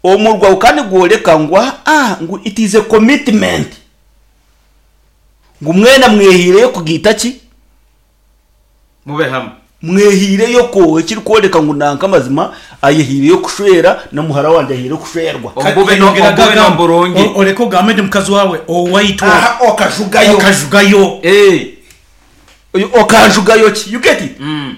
Omurwa gukaba nigworeka ngu aa ngu it is a commitment ngu mwena mwehaireyo kugaita ki? Mube hamwe. Mwehaireyo kwo ekirikworeka ngu nanka amazima ayehaireyo kushwera na muhara wangye ahaireyo kushwerwa. Obubi no Yayongera obubi agamba, n'oburungi. O- Oreke ogambe nti mukazi wawe owaitu Aha okajugayo. okajugayo. Eh. Okanjugayo ki? You get it? Mm.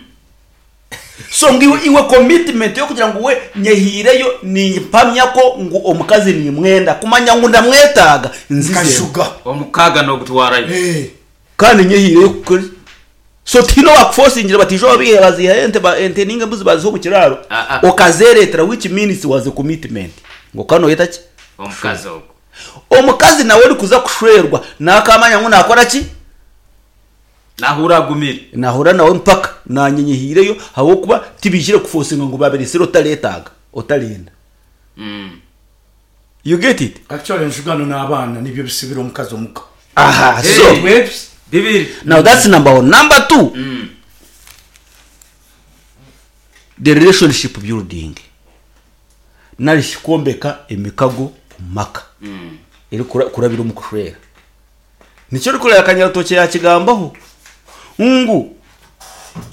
So ngu iwe, iwe commitment yokugira ngu we nyehaireyo nimpamya ko ngu omukazi nimwenda kumanya ngu ndamwetaaga nzizemu. Nkajuga. Omukaga nogutwarayo. Eh. Kandi nyehaireyo kukora so tihaine owakufosingira bati ijo wabiiha baziihayo ente ba ente ninga embuzi baziiha omu kiraaro Ah, ah. okazeereetera which means was a commitment ngu okaba noyeta ki? Omukazi ogwo. Omukazi nawe orikuza kushwerwa nakamanya ngu nakora ki? Nahuura agumire. Nahuura nawe mpaka nanye nyehaireyo ahabw'okuba tibaijire kufosinga ngu babiresire otaretaaga otarenda. You get it? Actually enjugano n'abaana nibyo bisibira omukazi omuka. Aha, so Hey. Ebyo Bibiri. now that's number one. Number two, the relationship building nari shi kwombeka emikago omu maka erikurabira omu kushwera. Nikyo orikureeba Kanyarutookye yaakigambaho ngu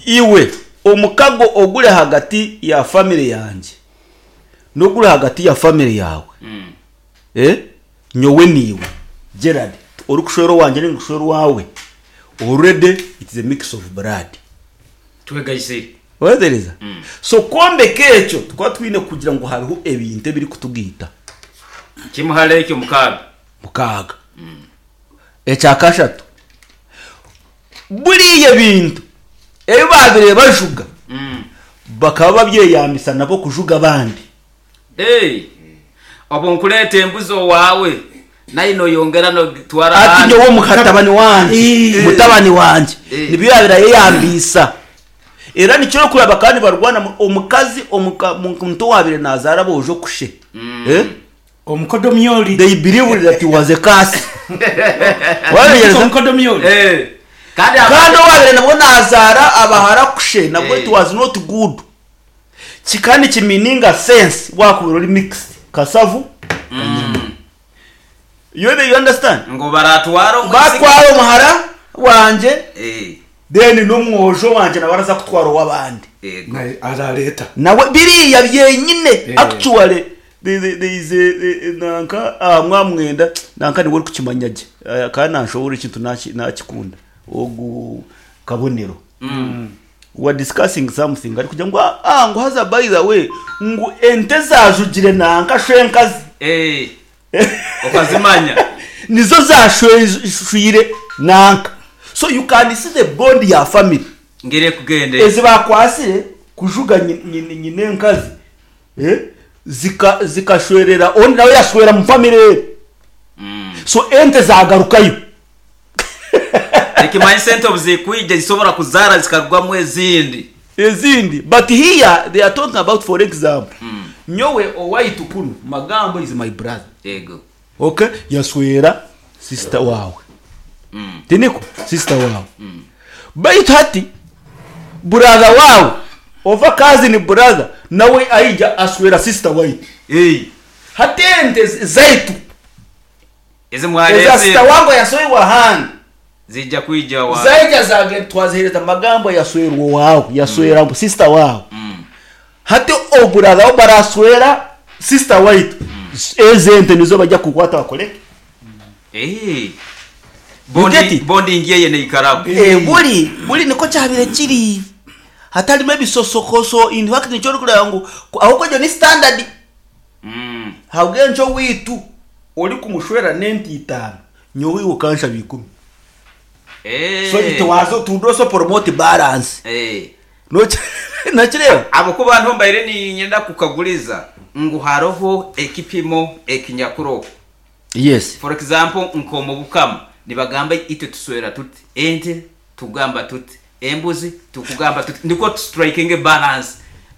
iwe omukago oguri ahagati ya famire yangye n'oguri ahagati ya famire yaawe, nyowe naiwe Gerald, orikushwera owangye nainga ndikushwera owaawe, already it is a mix of blood. Twegaitsire. Wayetegereza? So kwombeka ekyo tukaba twine kugira ngu hariho ebintu ebirikutugaita. Kimwe hari ekyo mukaaga. Mukaaga. Ekya kashatu, buriya ebintu ebi baabaire bajuga bakaba babyeyambisa nabo kujuga abandi. Hey, obu nkureeta embuzi owaawe, nayo noyongera nogitwara Ati ahandi. nyowe mukatabani wangye, mutabani wangye, nibyo yaabaire ayeyambiisa. Era nikyo orikureeba bakaba nibarwana omukazi omuntu owaabaire naazaara aboojo kushe. Omukodomyoli. They believed that he was a curse. Wategereza? Omukodomyoli. Eh, kandi Kandi owabaire nabwo nazaara abahara kushe nabwo it was not good. Kikaba nikimininga sense wakubaire ori mixed kasavu kanyama. You you understand? Ngu baratwara omwisiki. Batwara omuhara wangye Eh, then n'omwojo wangye nawe araza kutwara ow'abandi. yego. Naye arareeta. Nawe biriya byenyine actually there is a nanka aha mwamwenda nanka niwe orikukimanya gye kandi nanshoboorora ekintu nakikunda ogu Kabonero. We were discussing something arikugira ngu ah ngu haza by the way ngu ente ezajugire nanka shwenkazi Eh, okazimanya. nizo zashwire nanka. So you can see the bond ya family. Ngeri ekugenda Ezi bakwasire kujuga nyinenkazi zikashwerera ondi nawe yashwera mu family ye. So ente zagarukayo. Nikimanyisa ente obu zirikwija zisobora kuzaara zikarugamu ezindi. Ezindi but here they are talking about for example nyowe owaitu kunu Magambo is my brother. Yego. Ok yaswera sister wawe tiniko sister wawe baitu hati brother wawe ova cousin brother nawe aija aswera sister waitu Hey. hati ente zaitu Ezi eza mwareetsire sister wangu yaswerwa ahandi ziija kwija wa zaija zagenda twazihereza magambo yaswerwa owawe yaswera sister wawe Hati obu brother obu baraswera sister waitu, ezo ente nizo baija kukwata bakore ki? Eh. You get it? Bonding eye neikaraho. Eh, buri buri nikwo kyabaire kiri hatarimu ebisosokoso in fact nikyo orikureeba ngu ahabw'okuba egyo ni standard Ahabw'enki owaitu orikumushwera n'ente itaano nyowe iwe okanshaba ikumi? So it was to also promote balance. Nokireeba? Ahabw'okuba niho mbaire niinyenda kukaguriza ngu hariho ekipimo ekinyakuroho. Yes. For example nk'omu Bukama nibagamba itwe tuswera tuti, ente tukugamba tuti, embuzi tukugamba tuti nikwo tu strikinge balance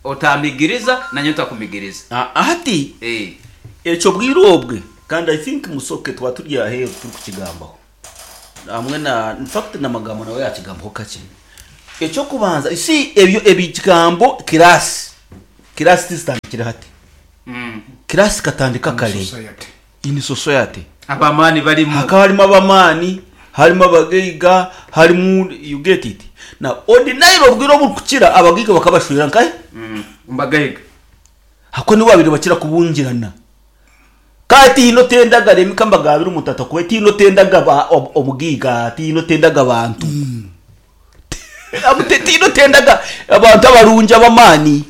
otamigiriza nanye ntakumigiriza. Hati ekyo obwire obwe kandi I think Musoke twaba turi aheeru turikukigambaho hamwe na in fact na Magambo nawe yakigambaho kakye. Eky'okubanza you see ebyo ebigambo class, class tizitandikire hati. Class ekatandika kare Society. in society. Ab'amaani barimu. Hakaba harimu ab'amaani, harimu abagaiga, harimu you get it. Now ordinarily obwire oburikukira abagaiga bakaba bashwera nkahe? Omu bagaiga. Ahabw'okuba nibo baabaire nibakira kubungirana. Kandi tihaine otendaga, remi ka mbagambire omuntu atakuhe, tihaine otendaga ba- ob- obugaiga, tihaine otendaga abantu. Tihaine otendaga abantu abarungi ab'amaani.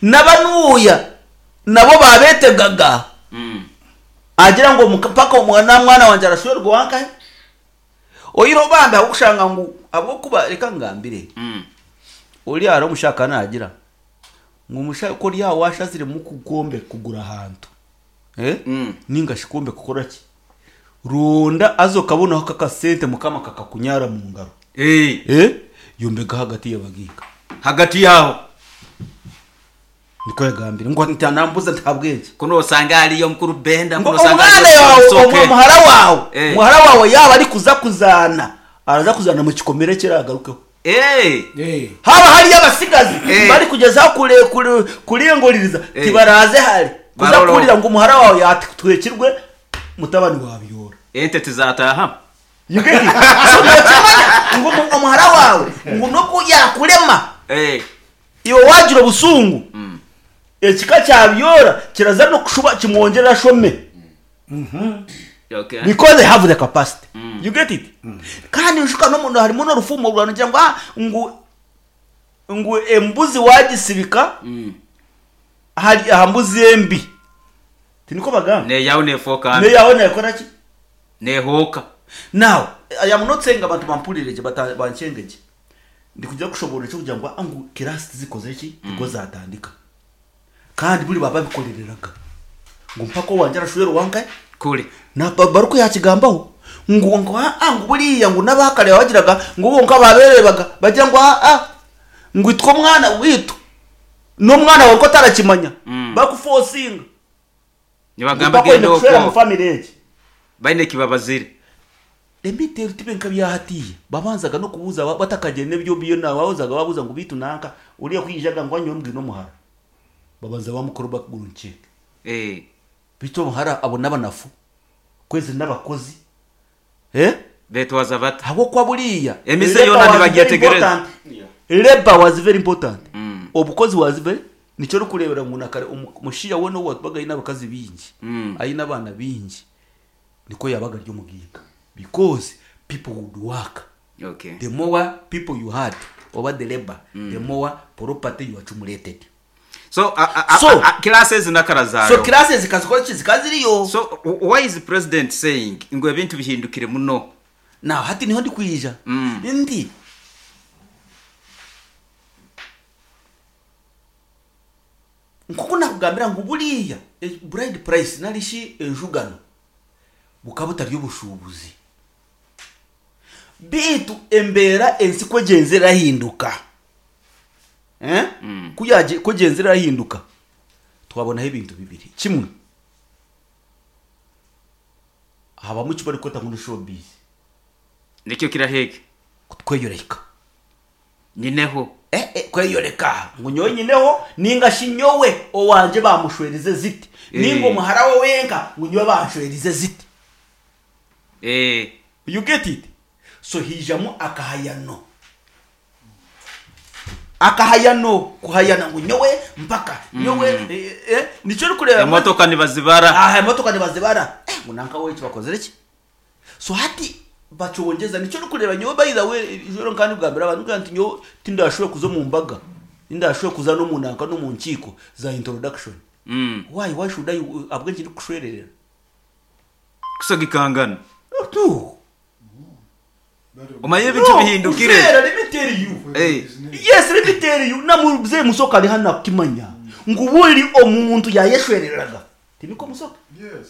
N'abanuuya nabo baabeetegaga. Agira ngu omuka mpaka omwana mwana wangye arashwerwa owankahe? Oyihireho bambi ahabw'okushanga ngu ahabw'okuba reka ngambire, ori hariho omushaija akaba naagira ngu omushaija ku ori aha waashaziremu kwombeka kugura ahantu nainga shi kwombeka kukora ki, ronda haza okabonaho nk'akasente mukama kakakunyaara mu ngaro, yombeka ahagati y'abagaiga. Hagati yaabo. Nikwo yagambire ngu nti anambuza nti habw'enki? Kunu osanga hariyo omukuru Benda, Ngu kunu osanga omwana hariyo waawe Soke. omuhara waawe Eh. muhara waawe yaaba arikuza kuzaana araza kuzaana mu kikomera ekiragarukeho. Eh. Eh. Haaba hariyo abasigazi Eh. barikugyezaho kure kure kurenguririza Eh. tibaraaze hare kuza Baroroho. kuhurira ngu muhara waawe yaatwekirwe mutabani wa Byora. Ente tizataahamu. You get it? So nookimanya ngu omu- omuhara waawe ngu n'oku yaakurema Eh. Iwe waagira obusungu, ekika kya Byora kiraza n'okushuba kimwongyere ashome Okay. because they have the capacity. You get it? Kandi nshuka n'omuntu harimu n'orufumo rwanugira ngu ah, ngu ngu embuzi waagisibika ahari aha mbuzi embi. Tiniko bagamba? Neyaho neefooka mbi. Neyaho neekora ki? Neehooka. Now, I am not saying abantu bampurire gye bata bankyenge gye. Ndikugira kushoboorora eky'okugira ngu aa ngu kiraasi tizikozire ki? Tibwo zaatandika. Kandi buri baaba babikorereraga. Ngu mpaka owangye arashwera owankahi? Kuri. Na Baruku yaakigambaho ngu ngu aa ngu buriya ngu n'abaakare baabagiraga ngu bo nk'abaabeereebaga bagira ngu aa ngu itwe omwana waitu n'omwana waawe ku otarakimanya bakufosinga. Nibagamba Mpaka oine genda kushwera mu okwo. family egi. Baine eki babazire. Emiti eri tibe nka bya hatiiya. Babanzaga n'okubuuza batakagyenda ebyo byona babanzaga babuuza ngu beitu nanka oriya ku yaijaga ngu anyowe mbwine omuhara. Babanza bamukora background check. Beitu omuhara abo n'abanafu, kwezi n'abakozi. Eh? Betwaza bata? Ahabw'okuba buriya Emize labour yoona was very nibagyetegereza. important. Labour was very important. Obukozi was very nikyo orikureebera ngu na kare omushaija weena owabaga aine abakazi baingi, aine abaana baingi, nikwo yaabaga ari omugaiga because people would work. Okay. The more people you had oba the labour, the more property you accumulated. So, a, a, a, So- a, a, classes nakara So zaayo. classes zikazikora ki? Zikaba ziriyo. So why is the president saying ngu ebintu bihindukire muno? Now hati niho ndikwija nti nk'oku nakugambira ngu buriya bride price nari shi enjugano bukaba butari obushuubuzi beitu embeera ensi ku egyenzire erahinduka eh? Ku yagye- ku egyenzire erahinduka twabonaho ebintu bibiri kimwe Habamu eki barikweta ngu ni showbiz. Nikyo kiraheege. Kweyoreka. Nyineho. Eh, eh, kweyoreka ngu nyowe nyineho ninga shi nyowe owangye bamushwerize ziti ninga omuhara we wenka ngu nyowe banshwerize ziti. Eh. You get it? So haijamu akahayano. Akahayano, kuhayana ngu nyowe mpaka nyowe eh, eh, nikyo orikureeba Emotoka nibazibara. Aha emotoka nibazibara. Eh, ngu nanka we eki bakozire ki? So hati bakyongyeza nikyo orikureeba nyowe by the way ijoro nkaba ndikugambira abantu ngira nti nyowe tindashoboye kuza omu mbaga tindashoboye kuza n'omu nanka n'omu nkiiko za introduction. Why why should I ahabw'enki ndikukushwererera? Kusagikangana. No. Omanyire ebintu No, bihindukire. kushwera let me tell you. Eh. Yes, let me tell you. Na muzeyi Musoke ari hanu akukimanya ngu buri omuntu yayeshwerereraga. Tiniko Musoke? Yes.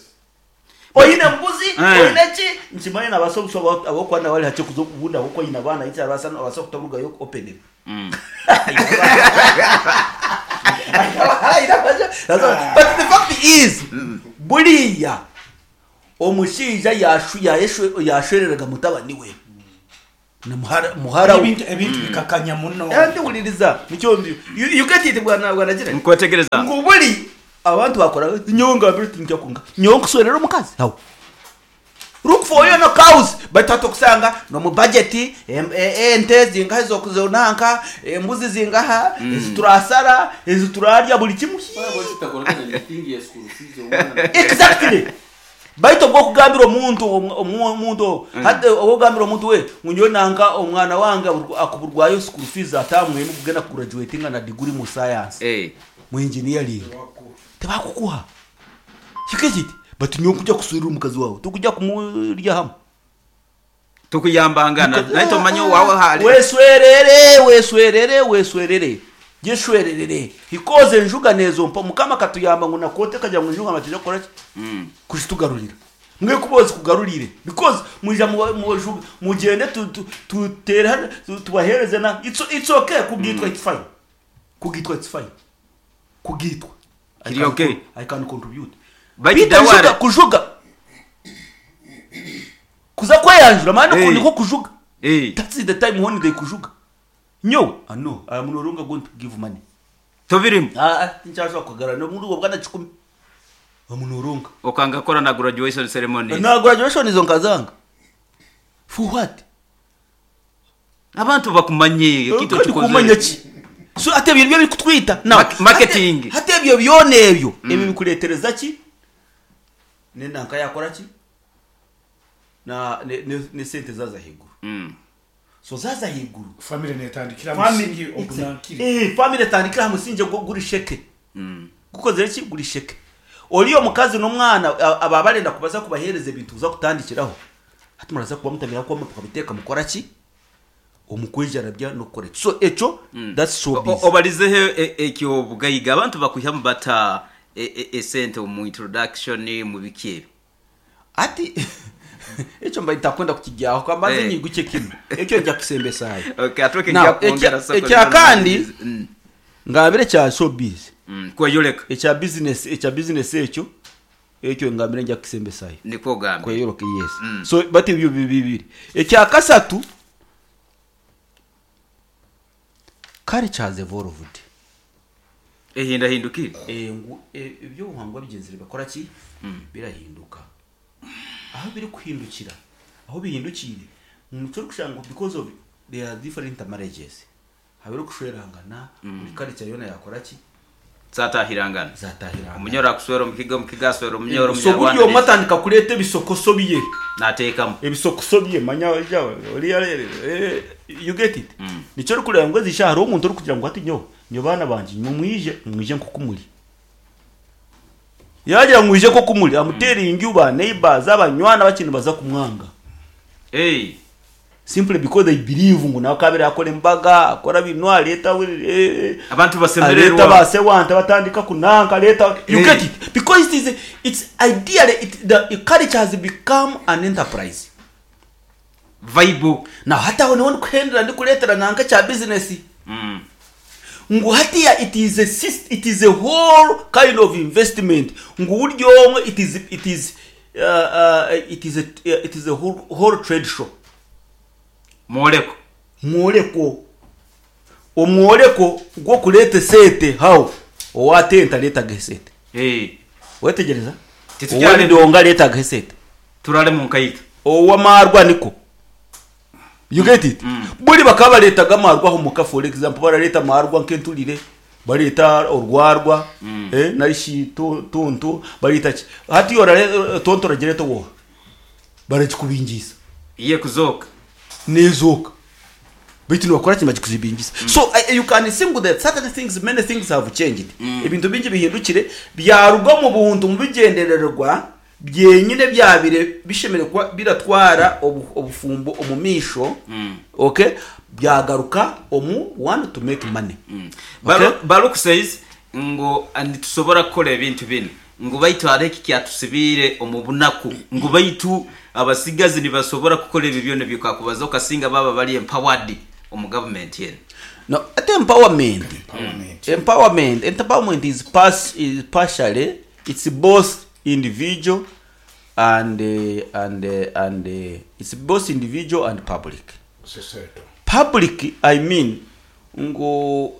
Oine embuzi, Eh. oine ki? Nkimanya nabaasa obuso ahabw'okuba nawe ari hakye kuza obundi ahabw'okuba oine abaana hati arabaasa arabaasa kutarugayo openly. But the fact is, buriya Omushaija yaashwereraga mutabani we na muhara we. Ebintu ebintu bikakanya muno. Andi wuliriza nikyo ndi. You get it bwana bwana Gira? Nkwetegereza. Ngu buri Abantu bakora nyowe ngambire oti nja kunga nyowe nkuswerera omukazi how? Look for yoona cows baitu hati okusanga nomu budget ente zingaha ezokuzonanka embuzi zingaha ezi turasara ezi turarya buri kimwe exactly baitu obwo okugambira omuntu omuntu hati obu okugambira omuntu we ngu nyowe nanka omwana wange akuburwayo school fees atamwemu kugenda kugraduatinga na degree mu science mu engineering tibakukuha. You get it? But nyowe nkuja kuswerera omukazi wawe tokujya kumurya hamwe. Tukuyambangana naitwe omanye owawe ahari. Weswerere weswerere weswerere gyeshwererere because enjuga nezo mpa mukama akatuyamba ngu na kooti ekagira ngu enjuga nibakija kukora ki kuzitugarurira mbwenu kuba ozikugarurire because mwija mugyende tutere hanu tubahereze na it's okay kugaitwa it's fine kugaitwa it's fine kugaitwa Kiri okay. I can contribute. Baitu Peter daware. Njuga kujuga kuza kweyanjura maana Eh. niko kujuga. Eh. That's the time when they kujuga. Nyowe ah no, I am no longer going to give money. Tobirimu. Ah ah tinkyashobora kugara no muri ubwo bwana kikumi. I'm no longer. Okanga kora na graduation ceremony. Na graduation izo nkazanga. For what? Abantu bakumanye ekintu Kandi kumanya ki? So ate ebyo nibyo birikutwita. Now, Marketing. Hati ebyo byona ebyo ebyo bikuretereza ki? Nenanka yakora ki? Na ne sente zaza ahaiguru. So zaza ahaiguru. Family netandikira aha musingi ogunankire. Eh, family etandikira aha musingi guri sheke. Gukozire ki? Guri sheke. Oriya omukazi n'omwana aba barenda kubaza kubahereza ebintu kuza kutandikiraho. Hati muraza kuba mutamire ahakuba mukabiteeka mukora ki? Omu kwejarabya n'okukora ekyo. So ekyo that's showbiz. Obarizeho eky'obugaiga, abantu bakwihamu bata esente omu introduction mu biki ebyo? Hati ekyo mba ntakwenda kukigyaho ka mbanze nyigukye kinu. Ekyo nja kusembesayo. Okay, atweke Now, nja kwongera soko ekya kandi ngambire ekya showbiz. Kweyoreka. Ekya business, ekya business ekyo ekyo ngambire nja kukisembesayo. Nikwo ogambe. Kweyoroka yes. So bati ebyo bibi bibiri. Ekya kasatu culture has evolved. Ehindahindukire. Eh, ngu eby'obuhangwa bigyenzire bikora ki? Birahinduka. Ahu birikuhindukira, ahu bihindukiire, nikyo orikushanga ngu because of there are different marriages. Hariho okushwerangana, buri culture yoona yakora ki? Zatahirangana. Zatahirangana. Omunyoro akuswera omukiga, omukiga aswera omunyoro, So buri omunyarwanda omwe atandika kureeta ebisokoso bye. Nateekamu. Ebisokoso bye, manya oriya you get it? Nikyo orikureeba ngu ezi shaaha hariho omuntu orikugira ngu hati nyowe, nyowe baana bangye imwe mwije, mwije nk'oku muri. Yaagira ngu mwije nk'oku muri, I'm telling you ba neighbours, abanywani, abaki nibaza kumwanga. Hey. Simply because they believe ngu nawe akaabaire akora embaga, akora binu, areeta Abantu basemererwa. areeta ba sewante batandika kunanka, areeta you get it? Because it is it's ideally it, the culture has become an enterprise. Vibe. Now hati aho niho ndikuhendera ndikureetera nanka ekya business. Ngu hatiya it is a syst it is a whole kind of investment ngu buri omwe it is it is it is a it is a whole, whole trade show. Mworeko. Mworeko. Omworeko gw'okureeta esente how? Owa tenti areetaga esente. Eh. Wetegyereza? Titukyari Ow'ebidongo areetaga esente. Turaremu nkaitwe. Ow'amaarwa nikwo. You get it? Buri bakaba bareetaga amaarwa aho muka for example barareeta amaarwa nk'enturire, bareeta orwarwa, eh, nari shi tonto, bareeta ki. Hati iwe tonto oragireeta owaawe, baragikubingiisa. Iye kuzooka. Neezooka. Beitu nibakora ki? Nibagikuzibingisa. So you can see ngu that certain things, many things have changed. Ebintu bingi bihindukire, byaruga omu buntu omu bigyendererwa byenyine ebyabaire bishemereire kuba biratwara obufumbo omu maisho, okay, byagaruka omu one to make money. Okay? Baruku says ngu nitusobora kukora ebintu binu ngu baitu hariho eki kyatusibiire omu bunaku ngu baitu abasigazi nibasobora kukora ebi byona ebi okakubaza okasinga baaba bari empowered omu government enu. No, ate empowerment, Empowerment. empowerment, empowerment is pas, is partially, it's both individual and, and, and it's both individual and public. Societal. Public, I mean, ngu,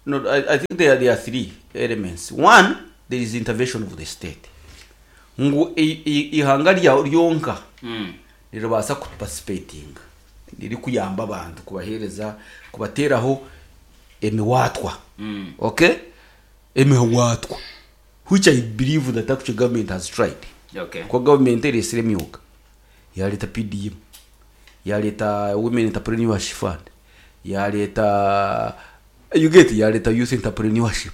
no, I think there are three. elements. One, there is intervention of the state. Ngu eihanga ryonka niribaasa kuparticipatinga ririkuyamba abantu kubaheereza, kubateeraho emiwaatwa. Okay? Emiwaatwa which I believe that actually government has tried. Okay. Kuba government ereetsire emyoga, yaareeta PDM, yaareeta Women Entrepreneurship Fund, yaareeta you get, yaareeta Youth Entrepreneurship.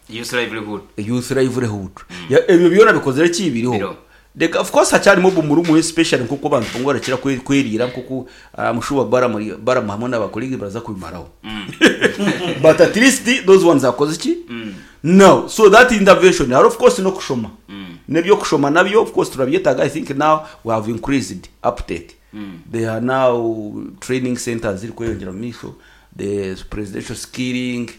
Youth livelihood. Youth livelihood. Ya- Ebyo byona bikozire ki biriho. Biriho. Reka of course hakyarimu obumurumwe especially nk'oku abantu bamwe barakira kwe- kweriira nk'oku I'm sure Balaam Balaam hamwe na bakolegi baraza kubimaraho. But at least those ones akoze ki? Now, so that intervention hariho of course n'okushoma. N'eby'okushoma nabyo of course turabyetaaga I think now we have increased uptake. There are now training centers zirikweyongyera omu maisho, the presidential skilling,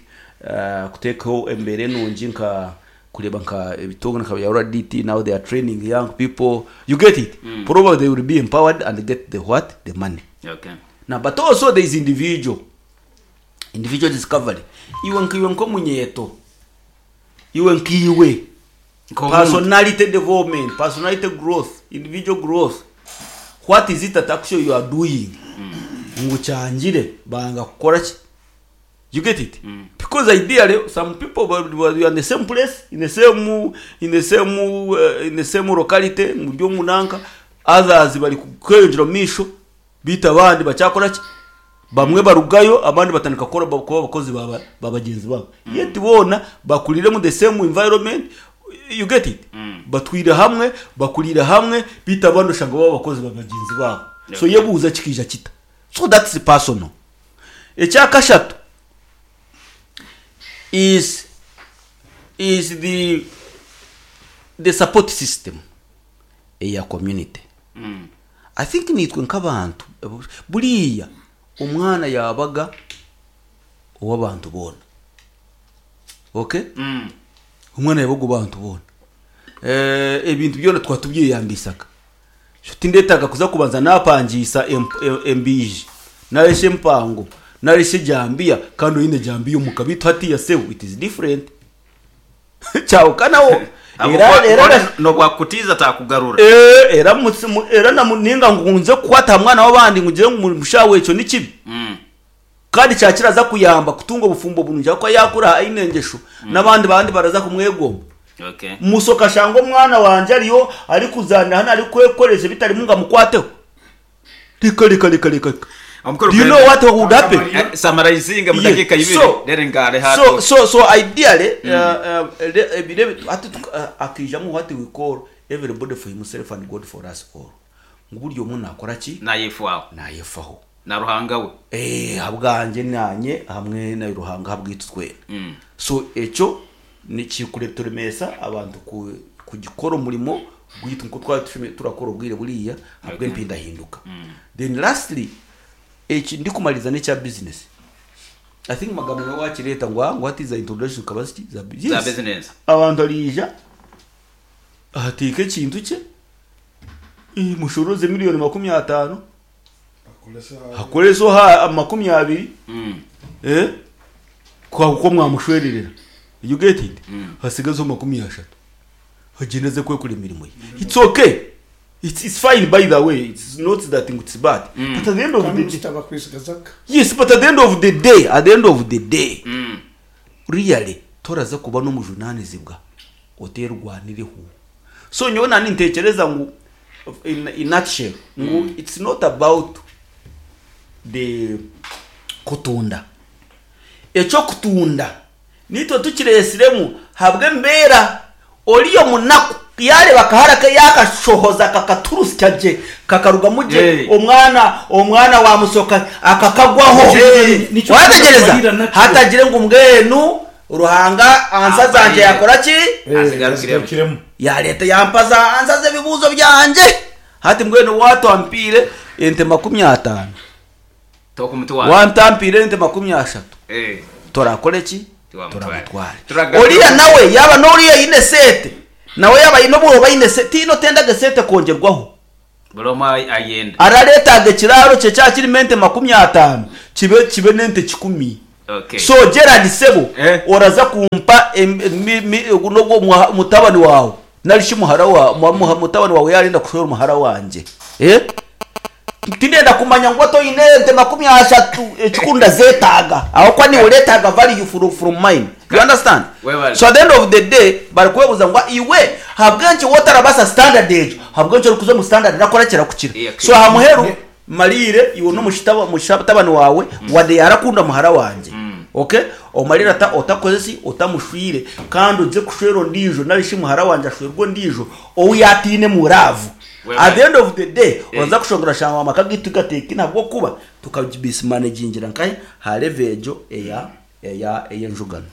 kuteekaho embeera enungi nka kureeba nka ebitongore nka bya RDT now they are training young people you get it probably they will be empowered and get the what the money Okay. now but also there is individual individual discovery iwe nkaiwe nk'omunyeeto iwe nkaiwe Nk'omuntu. personality development personality growth individual growth what is it that actually you are doing ngu kyangire banga kukora ki you get it because ideally some people were, were in the same place in the same in the same in the same locality muri omunanka others bari kweyongyera omu maisho beitu abandi bakyakora ki bamwe barugayo abandi batandika kukora kuba abakozi ba ba bagyenzi baabo yet boona bakurire omu the same environment you get it batwire hamwe bakurire hamwe beitu abandi oshanga baba abakozi ba bagyenzi baabo so yebuuza kikaija kita so that's personal ekyakashatu is is the the support system eya community I think naitwe nk'abantu buriya omwana yaabaga ow'abantu boona okay omwana yabaga ow'abantu boona Eh, ebintu byona tukaba tubyeyambisaga so tindeetaaga kuza kubanza naapangiisa embiiji nari shi empango nari shi ejambiya kandi oine ejambiya omuka beitu hatiiya sebo it is different Kyahukanaho. Era era na Nobwakutiiza takugarura. Eh, era mutsi- mu- era na ninga ngu nze kukwata aha mwana w'abandi ngu ngire ngu mushawe ekyo ni kibi. Kandi kyaba kiraza kuyamba kutunga obufumbo burungi ahabw'okuba yaakura aine engyesho n'abandi bandi baraza kumwegomba. Okay. Musoka ashanga omwana wangye ariyo arikuzaanira hanu arikwekoresa ebitarimu ngu amukwateho. Reka reka reka reka reka. Omukuru Do you know what would happen? Eh, Summarizinga mu dakiika Yeah. ibiri So- then ngare so hato. so so ideally ebiro ebi hati akaijamu what we call everybody for himself and God for us all. Ngu buri omwe nakora ki? Nayefaho. Nayefaho. Na Ruhanga we. Eh, ahabwangye nanye hamwe na Ruhanga ahabwaitu twena. So ekyo nikikureturemesa abantu kugikora omurimo gwaitu nk'oku twaba turakora obwire buriya ahabw'empindahinduka. Then lastly, eki ndikumariza n'ekya business. I think Magambo niwe wakireeta ngu ah, ngu hati za introduction zikaba ziki? Za Za yes. business. Abantu ariija ateeka ekintu kye, eh, mushoroze milioni 50, akorese oha 20, eh, kwa mwamushwererera. You get it? Hasigazeho 30. Agyende aze kwekora emirimo ye. It's okay. It's fine by the way. It's not that it's bad. But at the end of the day, Tabakwisigazaga. yes, but at the end of the day, at the end of the day, really toraza kuba n'omujunanizibwa oteerwanireho. So nyowe nani nintekyereza ngu in nutshell ngu it's not about the kutunda. Eky'okutunda nitwe tukireetsiremu habw'embeera oriya omunaku yaareeba akahara ke yaakashohoza kakaturusya gye kakarugamu gye Hey. omwana omwana wa musoka akakagwaho. Hey. Nikyo Wategereza kubarira nakyo. hatagire ngu mbwenu Ruhanga ansa zangye Ambarire. yakora ki? Azigarukiremu. Azigarukiremu. Yareeta yampaza ansa z'ebibuuzo byangye. Hati mbwenu waatwampiire ente 50. Tokumutwara. Wantampiire ente 30. Eh. Torakore ki? Tiwamutware. Toramutware. Turagaruka. Oriya nawe yaaba n'oriya aine sente, nawe yaaba aine obwoba aine sente, tihaine otendaga sente kwongyerwaho. Buri omwe ayenda. Arareetaaga ekiraaro kye kyaba kirimu ente 50, kibe kibe n'ente 1,000. Okay. So Gerald sebo Eh. oraza kumpa nogwo mutabani wawe nari shi muhara wa mutabani wawe yarenda kushwera muhara wangye eh? Tindenda kumanya ngu otoine ente 30 ekikuru ndazetaaga ahabw'okuba niiwe oreetaaga value from mine you understand? Webale. So at the end of the day barikwebuuza ngu iwe ahabw'enki waaba otarabaasa standard egyo ahabw'enki orikuza omu standard erakora kirakukira Yeah, so aha muheru Mariire iwe n'omutabani waawe wadde yaarakunda muhara wangye okay omarire ata otakozesi otamushwire kandi ogye kushwera ondiijo nari shi muhara wangye ashwerwe ondiijo ou yaataine mu laavu at the end of the day oraza kushonga orashanga amaka gaitu tigateekaine ahabw'okuba tukabismanagingira nkahi aha level egyo eya eya ey'enjugano.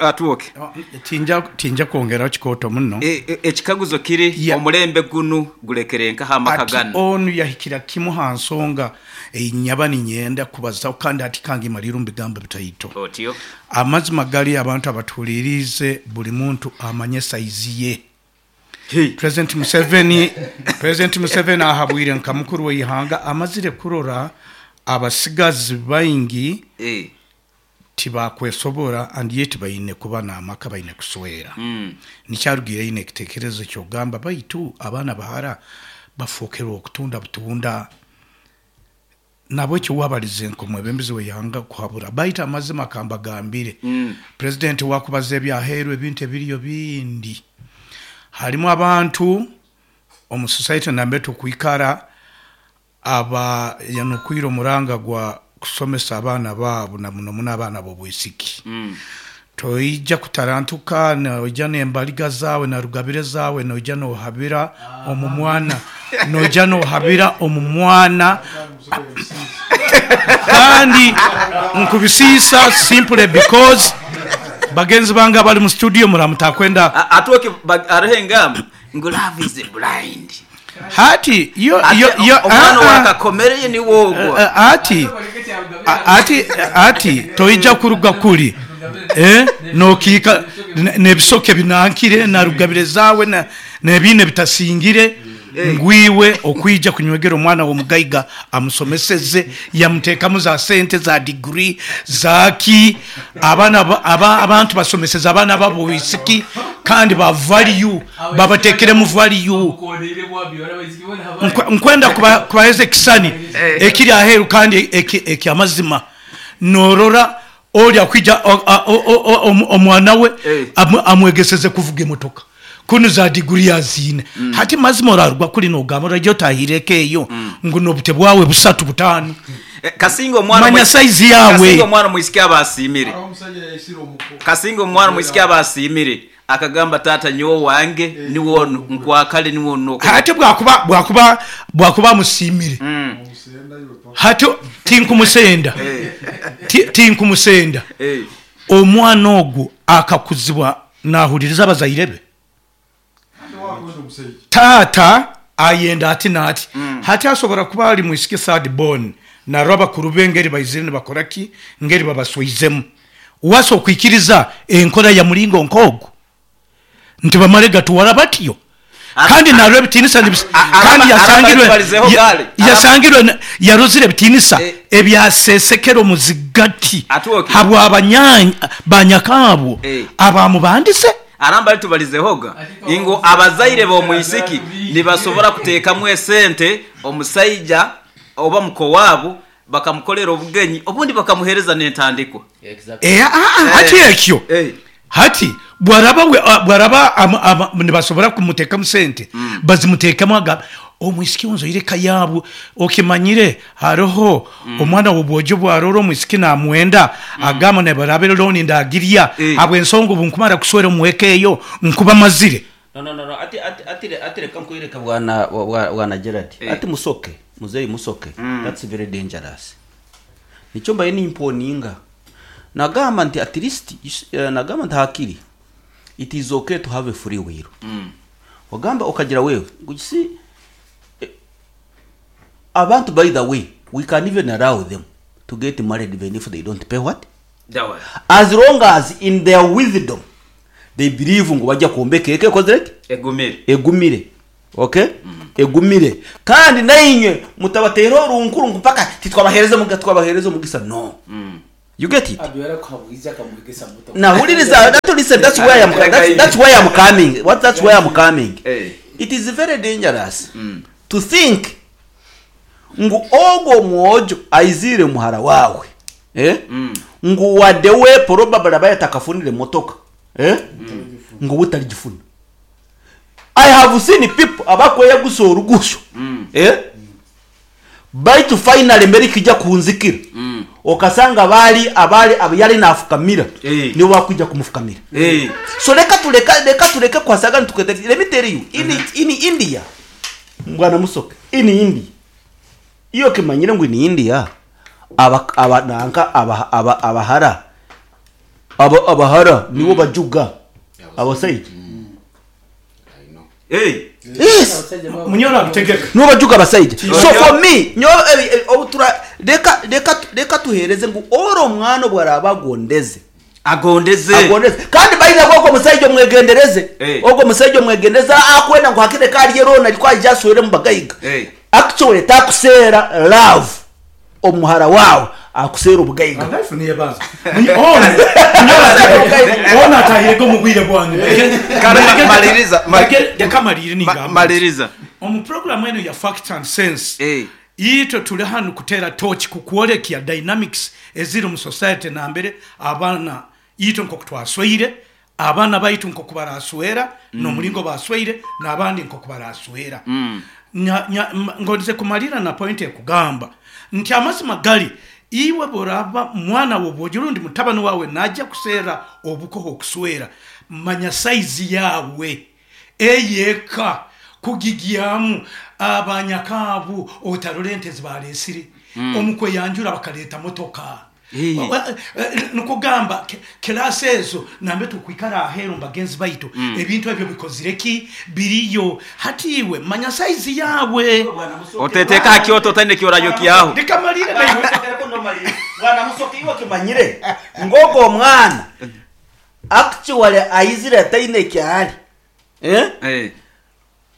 Atwoke. Tinja tinja kwongeraho kikooto muno. Ekikaguzo kiri, Ya. omulembe gunu gurekere nkaha amaka Ati ganu? onu yahikira kimu ha nsonga ei nyaba niinyenda kubazaho kandi hati ka ngimalire omu bigambo bitaito. Otyo. Amazima gari abantu abatuhuriiriize buri muntu amanye sayizi ye. President Museveni President Museveni ahabwire nka mukuru w'eihanga amazire kurora abasigazi baingi tibakwesobora and yet baine kuba n'amaka baine kuswera. Nikyo arugiire aine ekitekerezo ky'okugamba baitu abaana bahara bafokerwe okutunda butunda. Nabwekyo wabarize nk'omwebembezi w'eihanga kuhabura baitu amazima kambagambire President wakubaza ebyaheeru ebintu ebiriyo bindi. Harimu abantu omu society nambere tukwikara aba yanukwire omuranga gwa kusomesa abaana baabo na muno muno abaana b'obwisiki. Toija kutarantuka noija n'embariga zaawe na rugabire zaawe noija nohabira omu mwana noija nohabira omu mwana kandi nkubisiisa simply because bagenzi bange abari mu studio muraba mutakwenda Atwoke hariho engamba ngu love is blind. Hati yo Ati yo yo omwana ah, ah. owakakomereye niwe ogwo. Ati ati ati toija kuruga kuri eh nokiika n'ebisoke binankire na rugabire zaawe na n'ebiine bitasingire ngu iwe okwija kunywegera omwana w'omugaiga amusomeseze yamuteekamu za sente za diguri zaaki abaana aba abantu basomeseze abaana b'abaisiki kandi ba value babateekeremu value. Nkwenda kubaheeza ekisani ekiri aheeru kandi eky'amazima. Noorora ori akwija omwana we amwegeseze kuvuga emotoka kunu za diguri yaziine. Hati mazima oraruga kuri noogamba oragira otaahire eka eyo ngu n'obute bwawe busatu butaano. Kasinga omwana Manya sayizi yaawe. Kasinga omwana omwisiki aba asiimire. Kasinga omwana omwisiki aba asiimire akagamba taata nyowe owange niwe onu nkwakare niwe onu nokuba. Hati bwakuba bwakuba bwakuba amusiimire hati tinkumusenda tinkumusenda omwana ogwo akakuzibwa nahuririza abazaire be. Taata ayenda ati n'ati. Hati asobora kuba ari mwisiki third born narwo abakuru be engeri baizire nibakora ki, engeri babasweizemu. Waasa okwikiriza enkora ya muringo nk'ogu nti bamare gatuwara batyo? Kandi narwo ebitiinisa nibis- kandi yasangirwe Araba ya- gale. yasangirwe na- yarozire ebitiinisa Eh. ebyasesekera omu zigati Atuoke. habwa banyanya banyakaabo Eh. abamubandise. Aramba tubalizehoga ngu abazaire b'omwisiki nibasobora kuteekamu esente omusaija oba muko waabo bakamukolera obugenyi obundi bakamuheereza n'entandikwa. Eh, ah, ah, hati ekyo Eh. hati bwaraba we- ah, bwaraba ama- ama- nibasobora kumuteekamu sente bazimuteekemu agamba omwisiki onzoire eka yaabo okimanyire hariho omwana w'obwojo bwarora omwisiki namwenda agamba nebarabire looni ndagirya Eh. habw'ensonga obu nkumara kuswera omu eka eyo nkuba mazire. No, no, no, no. Ati, ati, ati, ati reka nkwereka bwana, bwana Gerard. Eh. Ati musoke, muzeyi musoke. That's very dangerous. Nikyo mbaye nimponinga. Nagamba nti at least, nagamba nti hakiri. It is okay to have a free will. Ogamba okagira wewe. You see, abantu by the way, we can even allow them to get married even if they don't pay what? Dowry. As long as in their wisdom they believe ngu bajya kwombeka eka ekozire ki? Egumire. Egumire. Okay? Egumire. Kandi nainywe mutabateera orunkuru ngu mpaka titwabaheereza omugisa, twabaheereza omugisa. No. You get it? Now huliriza, that listen, that's where I'm, that's, that's where I'm coming. What, that's where I'm coming. Eh. It is very dangerous to think ngu ogwo omwojo aiziire muhara waawe eh? Ngu wadde we probably abaye atakafunire motoka eh? Ngu we tarigifuna. I have seen people abakweyagusa orugusyo eh? Baitu finally mbere ikija kunzikira okasanga abali abali abu yali nafukamira Eh. nibo bakwija kumufukamira. Eh. So leka tuleka leka tuleke kwasagana tukete. Let me tell you, in India, mbwana Musoke, in India iyo kimanyire ngu in India aba aba nanka aba aba abahara aba abahara nibo bajuga abasaija. Eh. Yes. Munyoro abitegeka. Nibo bajuga abasaija. So for me nyo obutura leka leka leka tuhereze ngu oro omwana obwaraba agondeze Agondeze. Agondeze kandi baina ogwo omusaija omwegendereze. Eh. Ogwo omusaija omwegendereze akwenda ngu hakire kariye rona rikwaija aswere mu bagaiga. Eh. Actually takuseera love omuhara wawe akuseera obugaiga. Life niye banza. Ono atahirego mu bwire bwange. Kale, maliriza, Reka malire ningamba. Maliriza. Omu program eno ya Fact and Sense. Eh. Itwe tuli hanu kutera torch kukwolekya dynamics eziri mu society nambere abaana itwe nkoku twasweire abaana baitu nkoku baraswera n'omulingo basweire n'abandi nkoku baraswera. Ngonze kumalira na point ekugamba nti amazima gali iwe boraba mwana wo bwojurundi mutabani wawe najja kuseera obukoho okuswera manya saizi yawe eyeka kugigyamu abanyakaabu otarora ente zibalesire omukwe yanjura bakaleta motoka. Eh. Nikugamba kelasi ezo nambe tukwikara aheru mbagenzi baitu ebintu ebyo bikozire ki biriyo hati iwe manya saizi yawe Oteteka hakyoto otaine kyorayo kyaho. ndikamalire naiwe. Bwana Musoke, iwe kimanyire ngogo omwana actually aizire ataine kyali eh? Eh.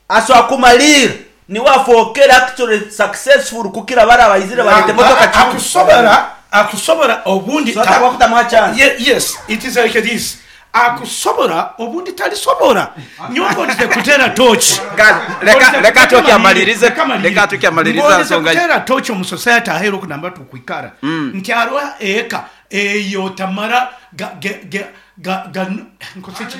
Aswa kumalira niwe afokera actually successful kukira bara abaizire balete motoka chumi. Akusobora obundi So atakutamuha chance. Yes, it is like this. Akusobora obundi talisobora nyongo kutera torch. Leka atoke amalirize, leka atoke amalirize Ngonze nsonga. kutera torch omu society aheru okunamba tukwikara nti arwa eka eyo tamara ga ga ga ga ga nkose ki?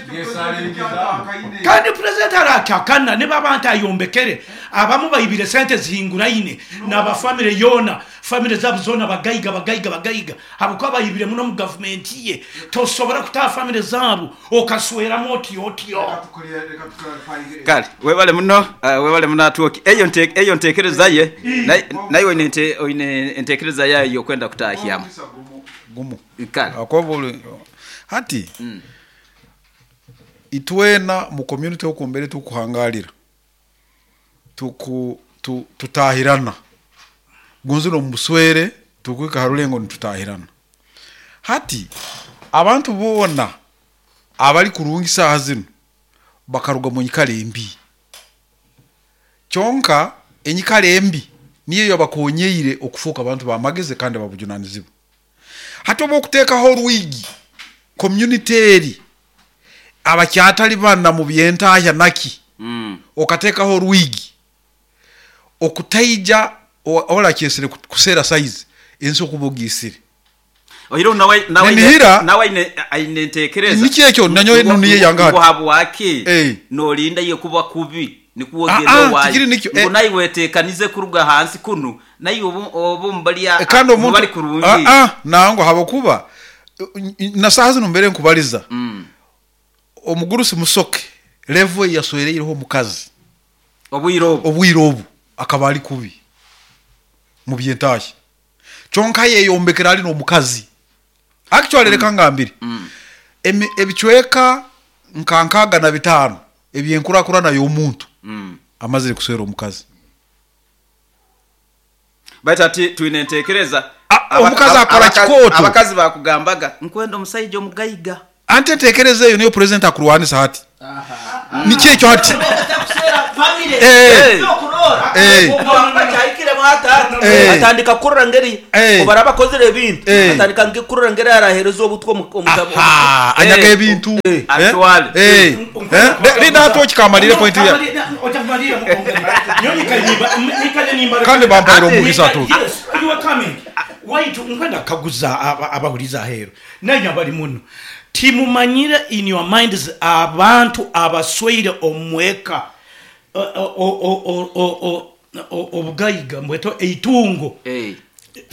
Kandi president arakakana ne babantu ayombekere abamu bayibire sente zihinguraine n'abafamire yona famire zabo zona bagaiga bagaiga bagaiga abuko bayibire muno mu government ye tosobora kutaha famire zabo okasweramu otyo otyo. Kale webale muno, webale muno atuoki eyo eyo ntekereza ye naye oine oine entekereza yayo yokwenda kutahyamu Gumu. Kale. Akoba hati itwena mu community okumbere tukuhangalira tuku tutahirana gunzino muswere tukwika harulengo nitutahirana hati abantu bona abali kurungi saha zino bakaruga mu nyikale embi kyonka enyikale embi niyo yabakonyeire okufuuka abantu bamageze kandi babujunanizibwa hati oba okuteekaho orwigi community eri abakyatali bana mu byentahya naki okateekaho orwigi okutaija orakyesere kuseera size ensi okuba ogiisire. Oiro nawe nawe Nenihira- nawe aine aine ntekereza Niki ekyo nanyo niye yanga hati. Ngo habwaki Eh. nolinda ye kuba kubi nikuwo Ah, genda ah, wayi tikiri nikyo, ngo eh. naye wetekanize kuruga hansi kuno naye obu obu mbali Kandi omuntu bali kurungi. Ah, ah, nango habakuba na saha zino mbere nkubaliza omugurusi Musoke level yaswereireho omukazi obwire obu obwire obu akaba ali kubi mu byentahya kyonka yeyombekera ali n'omukazi actually reka ngambire ebicweka nka 65 ebyenkurakurana y'omuntu amazire kuswera omukazi. Baitu ati twine ntekereza Ah, omukazi akora kikooto. Abakazi bakugambaga nkwenda omusajja omugaiga. Ante ntekereza eyo niyo president akurwanisa hati niki ekyo hati. Family. Eh. Eh. ata Eh. atandika kurora ngeri Eh. obu araba akozire ebintu Eh. atandika nkekurora ngeri arahereza obutwa omu- omu- Aha, anyaga Eh. ebintu. Eh. Atwale. Eh. Eh. Linda atoki kamalire point ya. Kandi bampaire omugisa atoki. Yes, you are coming. Waitu nkwenda kukaguza abahuriza aheeru nanye abali muno timumanyire in your minds abantu abasweire omweka obugaiga mbweto eitungo Eh.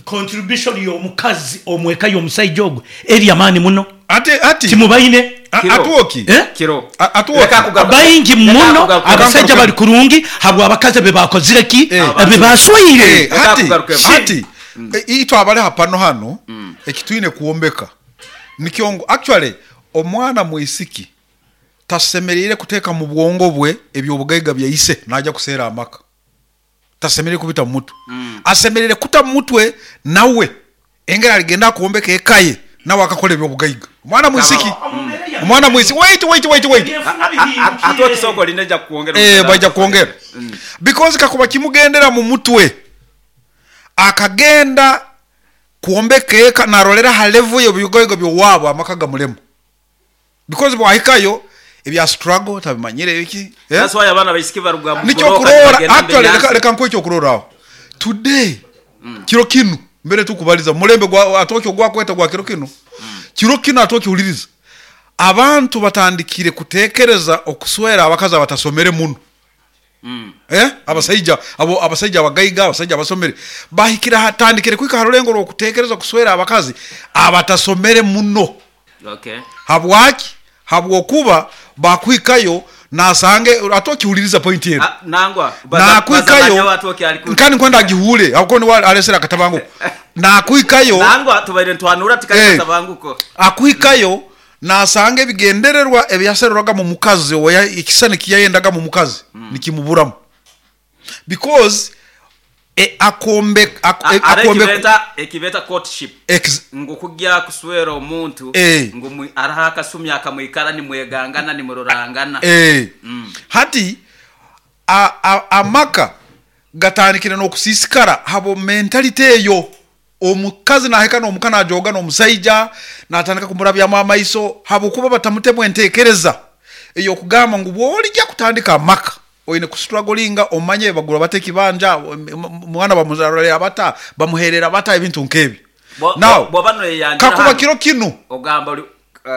contribution y'omukazi omweka y'omusaija ogwo eri amaani muno Ate ati timubaine Kiro. atoki. Eh? Kiro. Atoki. Leka kugaruka. baingi Leka muno kugaruka. abasaija bali kurungi habwa abakazi bebakozire ki Eh. bebasweire Eh, hati kugaruka. hati itwe abali hapano hano ekitwine kwombeka nikyo ngu actually omwana mwisiki tasemereire kuteeka mu bwongo bwe ebyobugaiga byaise naja kuseera amaka tasemereire kubita mu mutwe asemereire kuta mu mutwe nawe engeri aligenda akwombeka eka ye nawe akakora ebyobugaiga omwana mwisiki omwana mwisiki wait wait wait wait Atoki soko lindeja kuongera. eh baija kwongera because kakuba kimugendera mu mutwe akagenda kwombeka eka narolera ha level y'ebigoigo by'owaabo amaka gamulemu because bwahikayo ebya struggle tabimanyire biki eh? That's why abaana baisiki baruga mu nikyo buroka kurora bagenda actually mbere leka, leka nkuhe ekyokuroraaho today kiro kinu mbere tukubaliza mulembe gwa atoki ogwakweta gwa kiro kinu kiro kinu atoki huliriza abantu batandikire kutekereza okuswera abakazi abatasomere muno eh abasaija abo abasaija abagaiga abasaija abasomere bahikira hatandikire kwika harulengo rw'okutekereza kuswera abakazi abatasomere muno Okay. habwaki habwokuba bakwikayo nasange atoki point eno Ah, nangwa nakwikayo atoki ali ku nkani nkwenda agihure ahubwo niwe alesera akatabanguko nakwikayo nangwa tubaire ntwanura Eh. tikatabanguko akwikayo nasanga ebigendererwa ebyasererwaga mu mukazi oya ekisani kiyayendaga mu mukazi nikimuburamu because e, akombe ak, e, Are akombe ekibeta ekibeta courtship ex, ngu kujya kuswera omuntu Eh. ngu araho akasumi akamwikara nimwegangana nimurorangana eh. hati a, a, amaka gatandikire n'okusiisikara habo mentality eyo omukazi nahika n'omuka najoga n'omusaija natandika kumurabyamu amaiso habwokuba batamutemu enteekereza ey'okugamba ngu bw'olijja kutandika amaka oine kustrugglinga omanye bagura bata ekibanja omwana bamuzarorera bata bamuherera bata ebintu nk'ebi now bwoba noyeyanjura kakuba hano, kiro kinu ogamba oli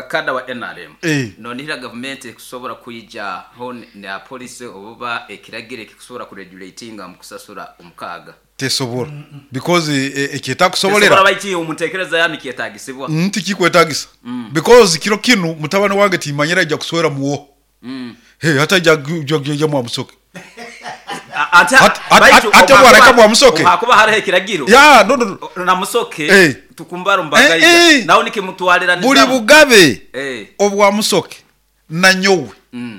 kada wa nrm Eh. nonihira gavumenti ekusobola kwijaho na polisi obuba ekiragiro ekikusobola kuregulatinga mu kusasura omukaaga tesobola because ekyetakusobolera Tesobola baiki omuntekereza yanu kyetagisibwa tikikwetagisa because kiro kinu mutabani wange timanyira aija kuswera muwo hey, hata aija mwamusoke Ate Ate bwareka mwamusoke? hakuba hariho ekiragiro ya no, no, no. namusoke Eh. tukumbara omumbagaiga Eh, eh. nawe nikimutwarira buli nizamu. bugabe Eh. obwa musoke nanyowe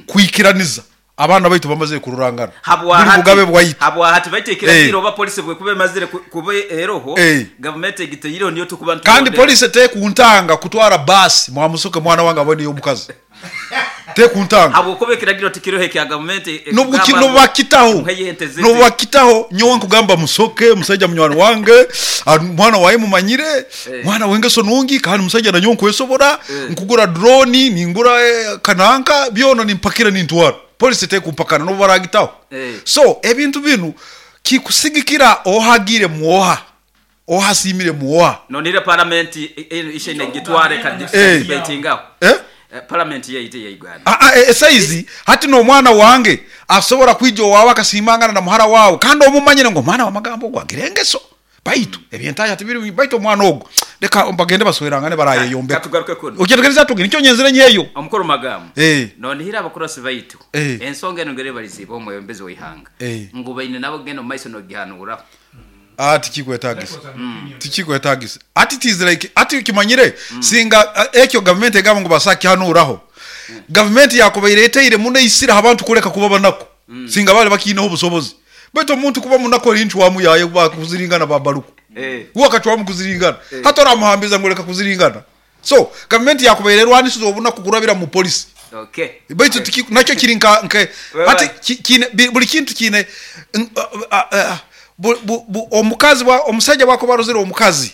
kwikiraniza abaana baitu bamazire kururangana Habwa buli hati- bugabe bwaitu habwa hati baita ekiragiro Eh. oba polisi bwekuba emazire kuba eroho Eh. gavumenti egiteireho niyo tukuba kandi nitulondera. polisi tekuntanga kutwara basi mwamusoke mwana wange abone omukazi tekuntanga habwokuba ekiragiro tikiriho ekya gavumenti ekugamba ngu nobakitaho muheyo ente ziti. nobakitaho nyowe nkugamba musoke musaija munywani wange mwana wawe mumanyire Eh. mwana wengeso nungi kandi musaija nanyowe nkwesobora Eh. nkugura droni ningura kananka byona nimpakira nintwara polisi tekumpakana nobu baragitaho Eh. so ebintu binu kikusigikira ohagire mwoha ohasimire mwoha nonire paramenti ishaine gitware Eh. kadibetingaho eh? paramenti yaitu ya Uganda Ah, ah, esaizi hati n'omwana wange asobora kwija owawe akasimangana na muhara wawe kandi omumanyire ngu omwana wamagambo ogwo agira engeso baitu ebyentaya tibiri baitu omwana ogwo leka bagende baswerangane barayeyombeka katugaruke kuno okyetegereza tugi nikyo nyenzire nyeyo omukuru magambo Eh. nonihira abakurasi baitu Eh. ensonga eno ngere baliziba omwebembezi w'ihanga Eh. ngu baine nabo genda omu maiso nogihanuraho ah tikikwetagisa tikikwetagisa ati it is like ati kimanyire singa ekyo gavumenti egamba ngu basakihanuraho gavumenti yakubaire eteire muno eisira abantu kuleka kuba banaku singa bali bakiineho obusobozi baitu omuntu kuba munaku eri ncwamu yaye kuziringana babaluku Eh. uwe akacwamu kuziringana hati oramuhambiza ngu leka kuziringana so gavumenti yakubaire erwanisiza obunaku kurabira mu polisi okay baitu nakyo kiri nka Wewe. ati kine buli kintu kine Bu, bu, bu, omukazi bwa, omusaija bwakuba arozire omukazi,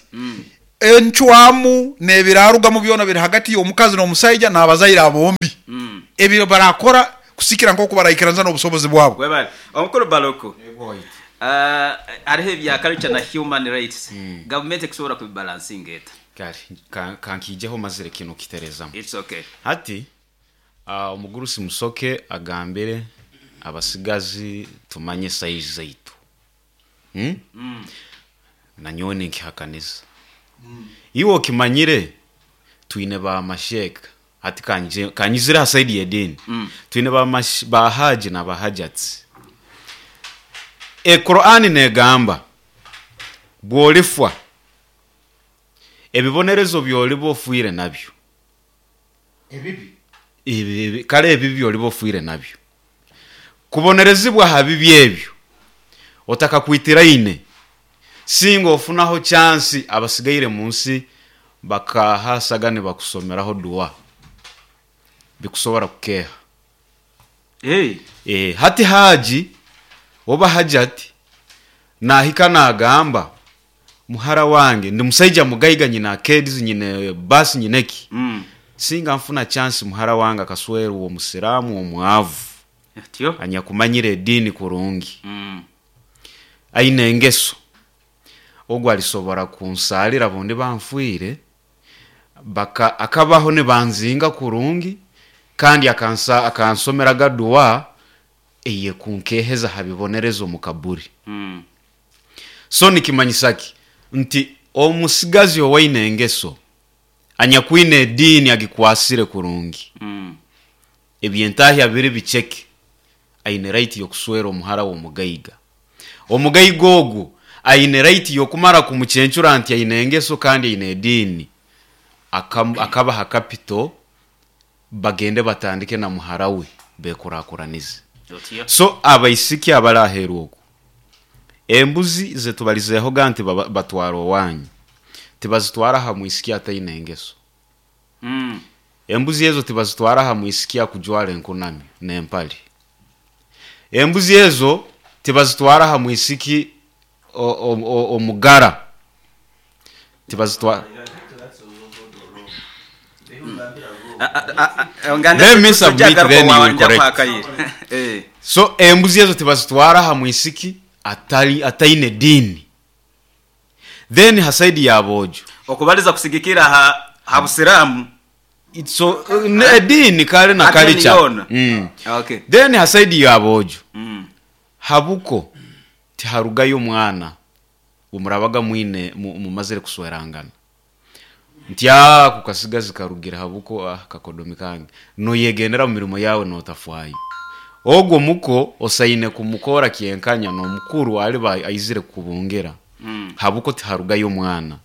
encwamu n'ebirarugamu byona biri hagati y'omukazi n'omusaija n'abazaire abombi. Ebi barakora kusikira nk'oku baraikiranza n'obusobozi bwabo. Webale. Omukuru Baluku, hariho ebya culture na human rights. Gavumenti ekusobora kubibalansinga eta? Kare, ka, ka nkiijeho mazire kinu kukitereezamu. It's okay. Hati, omugurusi Musoke agambire abasigazi tumanye size zaitu. Hmm? Nanyowe ninkihakaniza. Iwe okimanyire twine ba masheeka hati kangye kanyizire aha side y'ediini. Twine ba mash ba Haji na ba Hajats. E Quran negamba bw'olifwa ebibonerezo by'oliba ofwire nabyo Ebibi. Ebi, kare ebibi by'oliba ofwire nabyo. Kubonerezibwa aha bibi ebyo otakakwitiraine, singa ofunaho chansi abasigaire mu nsi bakahasaga nibakusomeraho dua, bikusobora kukeeha. Eeh, hati Haji oba Hajat nahika nagamba Muhara wange, ndi musaija mugaiga nyine arcades, nyine bus, nyine ki. Singa nfuna chance muhara wange akaswerwa omusiraamu omwavu anyakumanyire ediini kurungi, aine engeso, ogu alisobora kunsaalira bundiba nfwire, baka akabaho nibanzinga kurungi kandi akansa akansomeraga dua eyekunkeeheza ha bibonerezo omu kaburi. So nikimanyisa ki? Nti omusigazi owaine engeso, anyakwine ediini agikwasire kurungi, eby'entahya biri biceke, aine right y'okuswera omuhara w'omugaiga. Omugaiga ogu aine right y'okumara kumucencura nti aine engeso kandi aine ediini, akabaha capital bagende batandike na muhara we bekurakuranize. So abaisiki abari aheeru okwo, embuzi zetubarizeehoga nti batwara owanyu, tibazitwara aha mwisiki ataine ngeso. Embuzi ezo tibazitwara aha mwisiki akujwara enkunamyo n'empare. Embuzi ezo tibazitwara aha mwisiki omugara. Tibazitwara. Let me submit then you will correct. So embuzi ezo tibazitwara aha mwisiki atari ataine diini. Then ha side ya boojo. Okubariza kusigikira aha ha busiraamu. So ediini kare na Ediini culture. yoona. Okay. Then ha side ya boojo. Habuko tiharugayo mwana bu murabaga mwine mumazire kuswerangana. Nti ako kasigazi karugire habuko ah kakodomi kange. Noyegendera mu mirimo yaawe notafwayo. Ogwo muko osaine kumukora kyenkanya nomukuru aliba aizire kukubungira. Habuko tiharugayo mwana.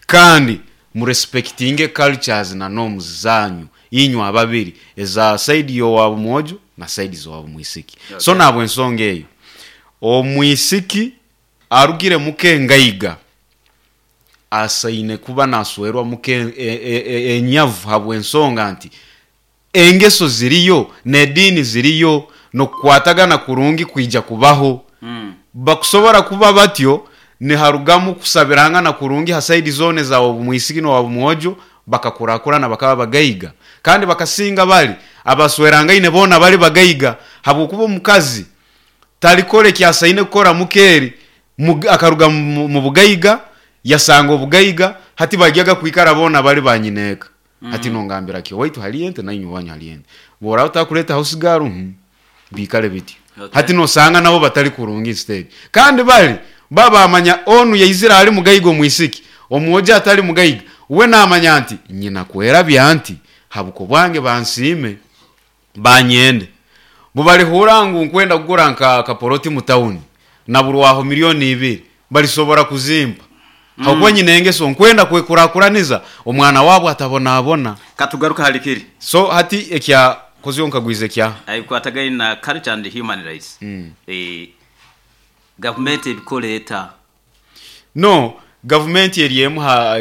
Kandi mu respectinge cultures na norms zanyu inywe ababiri eza side yowabu mwojo na side zowabu mwisiki. So nahabwensonga eyo omwisiki arugire muka engaiga asaine kuba naswerwa muka enyavu habwensonga nti engeso ziriyo nediini ziriyo nokukwatagana kurungi kwija kubaho. Bakusobora kuba batyo niharugamu kusabirangana kurungi ha side zona eza ow'omwisiki n'ow'omwojo bakakurakurana bakaba bagaiga. Kandi bakasinga bari abaswerangaine boona bari bagaiga habwokuba omukazi tarikora eki asaine kukora muka eri akaruga mu bugaiga yasanga obugaiga hati baryaga kwikara boona bari ba nyineeka. Hati nongambira ki? Owaitu hariyo ente nainywe owanyu hariyo ente. Bworaba otakureta house girl uhmm biikare bityo. Hati nosanga nabo batari kurungi instead. Kandi bari baba bamanya onu yaizire ari mugaiga omwisiki, omwojo atari mugaiga, we namanya nti nyina kwerabya nti habuko bwange bansiime, banyende. Bubarihuura ngu nkwenda kugura nka kapoloti mu tawuni naburwaho milioni ibiri, barisobora kuzimpa. Habwokuba nyine engeso nkwenda kwekurakuraniza omwana waabo atabonabona. Katugaruke ahari kiri. So hati ekya kozyo nkagwize ekya. Ebikwatagaine na culture and human rights. Gavumenti ebikora eta? No, gavumenti eri emu ha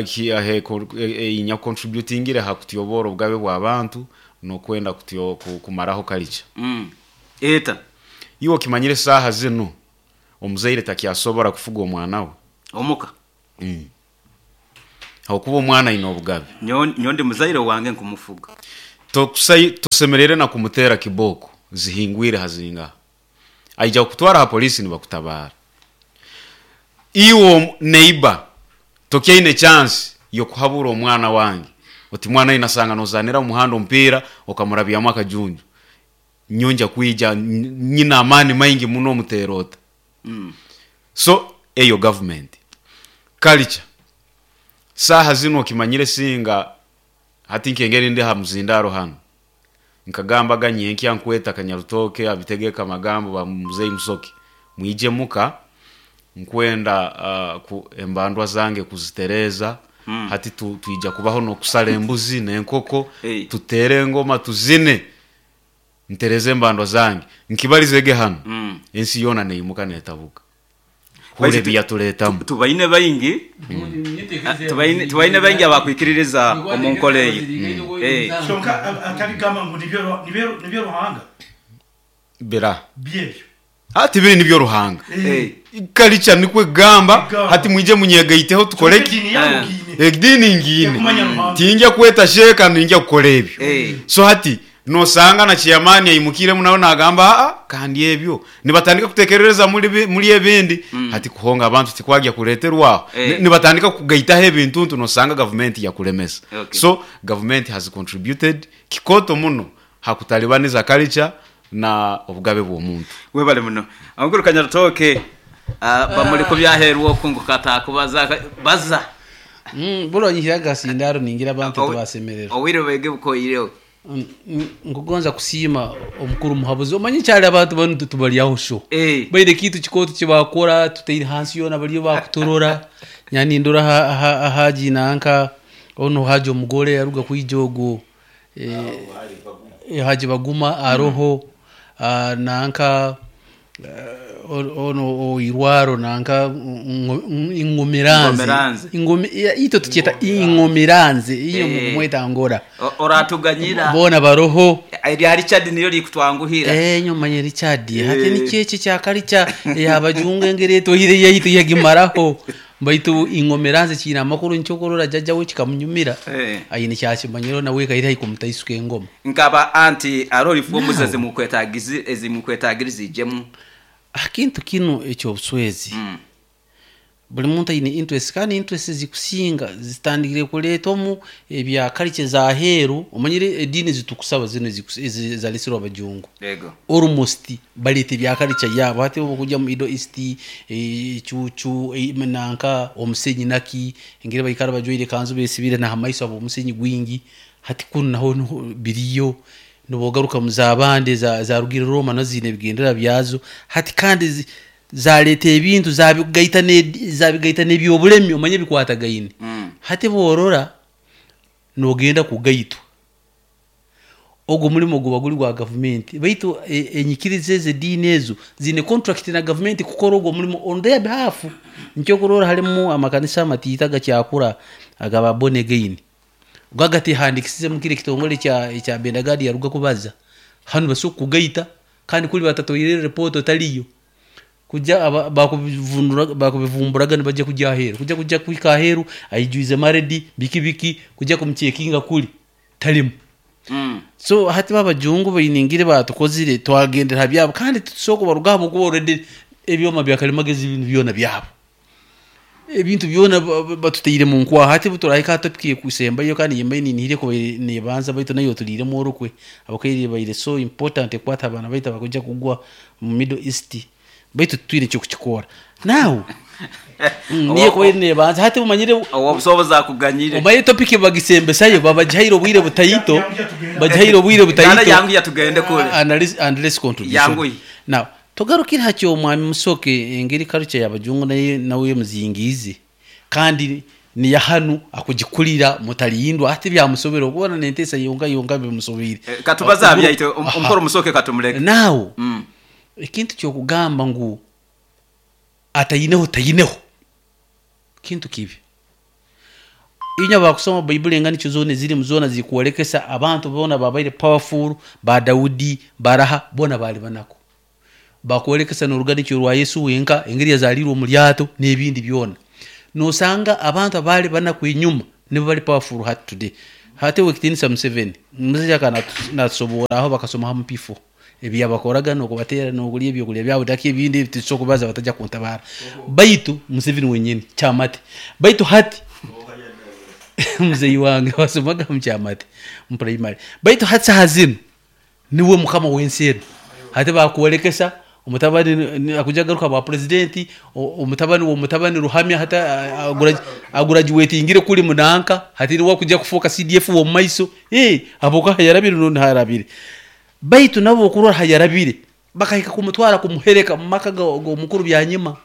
enyakukontributingire aha kutyoboora obugabe bw'abantu n'okwenda kumaraho culture. Eta? Iwe okimanyire esaaha zinu. Omuzaire takyasobora kufuga omwana we. Omuka. Habwokuba omwana aine obugabe. Nyowe nyowe ndi muzaire owange nkumufuga. Tokusai tosemereire na kumuteera kibooko zihingwire ha zingaha. Aija kukutwara ha poliisi nibakutabaara. Iwe neighbour tokyaine chance y'okuhabura omwana wange oti mwana aine asanga nozaanira omu muhanda omupiira okamurabyamu akajunju. Nyowe nja kwija nyine amaani maingi muno omuteere ota? So eyo government. Culture, saaha zinu okimanyire singa hati nk'engeri ndi aha muzindaaro hanu, nkagambaga nyenkya nkweta Kanyarutooke abitegeka amagambo ba Muzei Musoke mwije muka nkwenda ku embandwa zange kuzitereeza hati twija kubaho n'okusara embuzi n'enkoko tuteere engoma tuzine ntereeze embandwa zange nkibarize ge hanu ensi yoona neimuka neetabuka. Hurra Baitu ebi yatureetamu. Tubaine baingi tubaine baingi abakwikiririza omu nkora eyo. Kyonka atarigamba ngu nibyo Ruhanga. Bira. Byebyo. Hati biri nibyo Ruhanga. Kalica nikwo ekugamba, hati mwije munyegaiteho tukore ki? Ediini ngiine. Tingya kweta sheeka ningya kukora ebyo. So hati nosanga na chairman aimukiremu nawe nagamba aa kandi ebyo nibatandika kutekerereza muri ebindi hati kuhonga abantu tikwagya kureterwa aho. Nibatandika kugaitaho ebintuntu nosanga gavumenti yakuremesa. So gavumenti has contributed kikooto muno ha kutalibaniza culture na obugabe bw'omuntu. Webale muno. Omukuru Kanyarutooke bamuri kubyaherwa oku ngu katakubaza baza. Buri onyihire agasindaaro ningira abantu tibasemererwa. Obwire bubaire bukoireho. Nkugonza kusiima omukuru Muhabuzi. Omanye kyali abantu banu titubaryaho sho. Baine ekintu kikooto eki bakora tutaire hansi yoona bariyo bakuturora. Nyowe nindora Haji nanka onu Haji omugore yaruga kwija ogwo Haji Baguma aroho nanka onu oirwaro nanka Ngomiranzi. Itwe tukyeta Ingomiranzi, inywe mukumweta Ngora. Oratuganyira. Boona baroho. Erya Richard niryo ririkutwanguhira. Nyowe manya Richard. Hati nikyo eki ekya culture eyabajungu engeri etwaire eyaitu yagimaraho. Baitu Ingomiranzi kiine amakuru nikyo okurora jajja we kikamunyumira aine eki akimanyireho nawe ekaire haihi kumutaisuka engoma. Nkaba anti hariho reforms ezimukwetagire ziijemu. Aha kintu kinu eky'obuswezi, buri muntu aine interest kandi interest ezikusinga zitandikire kureetwamu ebya culture ez'aheeru, omanyire ediini ezitukusaba zinu ezaresirwe abajungu. Almost bareeta ebya culture yaabo. Hati obu orikuja omu Middle East, ecuucu, nanka omusenyi naki, engeri baikara bajwaire ekanzu besibire n'aha maiso habw'omusenyi gwingi, hati kunu naho biriyo. N'obu ogaruka omu z'abandi ezarugire Rooma nazo ziine ebigendererwa byazo. Hati kandi zareeta ebintu zabigaita zabigaita n'eby'obulemi omanye bikwatagaine. Hati bw'orora nogenda kugaitwa. Ogwo omurimo guba guri gwa gavumenti baitu enyikiriza ezo ediini ezo ziine contract na gavumenti kukora ogwo omurimo on their behalf. Nikyo okurora harimu amakanisa amatiito agakyakura aga ba born again go agatehandikisizemu kiri ekitongore ekya Benda Gad yaruga kubaza hanu nibasobola kukugaita kandi kuri batatoire report otariyo Kuja baakubivumburaga nibaija kugya aheeru. Kuja kuja kuhika aheeru aijwize maredi biki biki kuja kumucekinga kuri tarimu. So hati bo abajungu baine engeri baatukozire twagendera aha byabo kandi titusobola kubarugaho ahabw'okuba already ebyoma bya karimagezi binu byona byabo. Ebintu byona batutaire mu nkwaha. Hati obu turaahika aha topic ekusembayo kandi nimba ninihira ekubaire neebanza baitu nayo oturiiremu orukwe ahabw'okuba ebaire so important ekukwata aha baana baitu abakuija kugwa omu Middle East baitu titwine ky'okukikora. Now niyo ekubaire neebanza hati omanyire Ow'obusobozi akuganyire. Omanyire topic bagisembesayo babagihaire obwire butaito bagihaire obwire Uganda butaito yanguya tugende kure. and less contribution. Yanguhi. Now Tugarukire ha ky'Omwami Musoke engeri culture y'abajungu nayo nawe emuzingiize kandi niya hanu akugikurira mutarindwa hati byamusobera okubona n'enteesa yonka yonka bimusobeire. Katubaze aha byaitu omukuru Musoke katumureke. Now ekintu ky'okugamba ngu ataineho taineho kintu kibi. Inywe abakusoma Baibuli enganikyo zoona ezirimu zoona zirikwolekesa abantu boona ababaire powerful ba Daudi, baraha boona baali banaku. Bakworekesa n'oruganikyo rwa Yesu wenka engeri yazaalirwe omu ryato n'ebindi byona. Nosanga abantu abaali banaku enyuma nibo bari powerful hati today. Hati Owekitinisa Museveni, omusaija akaba natusoboraho bakasoma hamu P4 ebiyabakoraga n'okubateera n'okurya ebyokurya byabo taki ebindi ebi titusobora kubaza bataja kuntabaara. Baitu Museveni wenyini kyamate. Baitu hati muzeeyi wange wasomaga omu Kyamate mu primary. Baitu hati saaha zinu Niwe mukama w'ensi enu. Hati baakworekesa omutabani akwija kugaruka bwa purezidenti, omutabani w'omutabani Ruhamya hati agurajuwetingire kuri munanka, hati niwe akwija kufooka CDF w'omu maiso. Ahabw'okuba ahu yarabire n'ondi niho arabire. Baitu nabo okurora ahu yarabire, bakahika kumutwara kumuhereka omu maka g'omukuru Byanyima.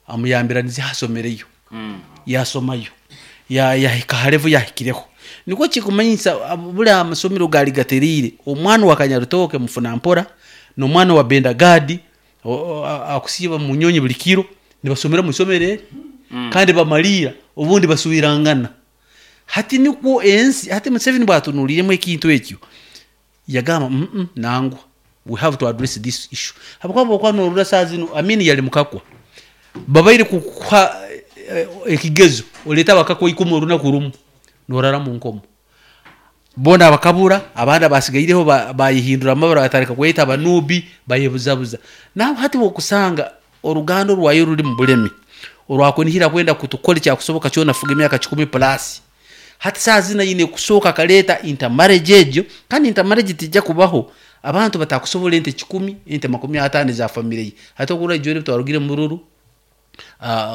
Amuyambiranize asomereyo, yasomayo, yahika ha level yahikireho. Nikwo kirikumanyisa buriya amasomero gaari gatereire, omwana owa Kanyarutooke mufuna mpora, n'omwana owa Bendagadi akusiiba omu nyonyi buri kiro, nibasomera omu isomero eri kandi bamariira obundi baswirangana. Hati nikwo ensi, hati Museveni obu atunuuriiremu ekintu ekyo, Yagamba, mm nangwa, we have to address this issue. Habwokuba bwokuba norora saaha zinu Amin yali mukakwa, babaire kukuha ekigezo orete abakakwa ikumi orunaku rumu, norara mu nkomo. Boona bakabura, abandi abasigaireho bayehindura amabara batandika kweyeta abanubi, bayebuzabuza. Nawe hati bwokusanga oruganda orwayo ruri mubulemi, orwakunihira kwenda kutukora ekyakusoboka kyona kufuga emyaka kikumi plus, Hati saaha zinu aine kusooka akaleeta intermarriage egyo, kandi intermarriage teija kubaho abantu batakusobola ente kikumi, ente makumi ataano eza famire ye. Hati oku oraijuka obu twarugire Mururu,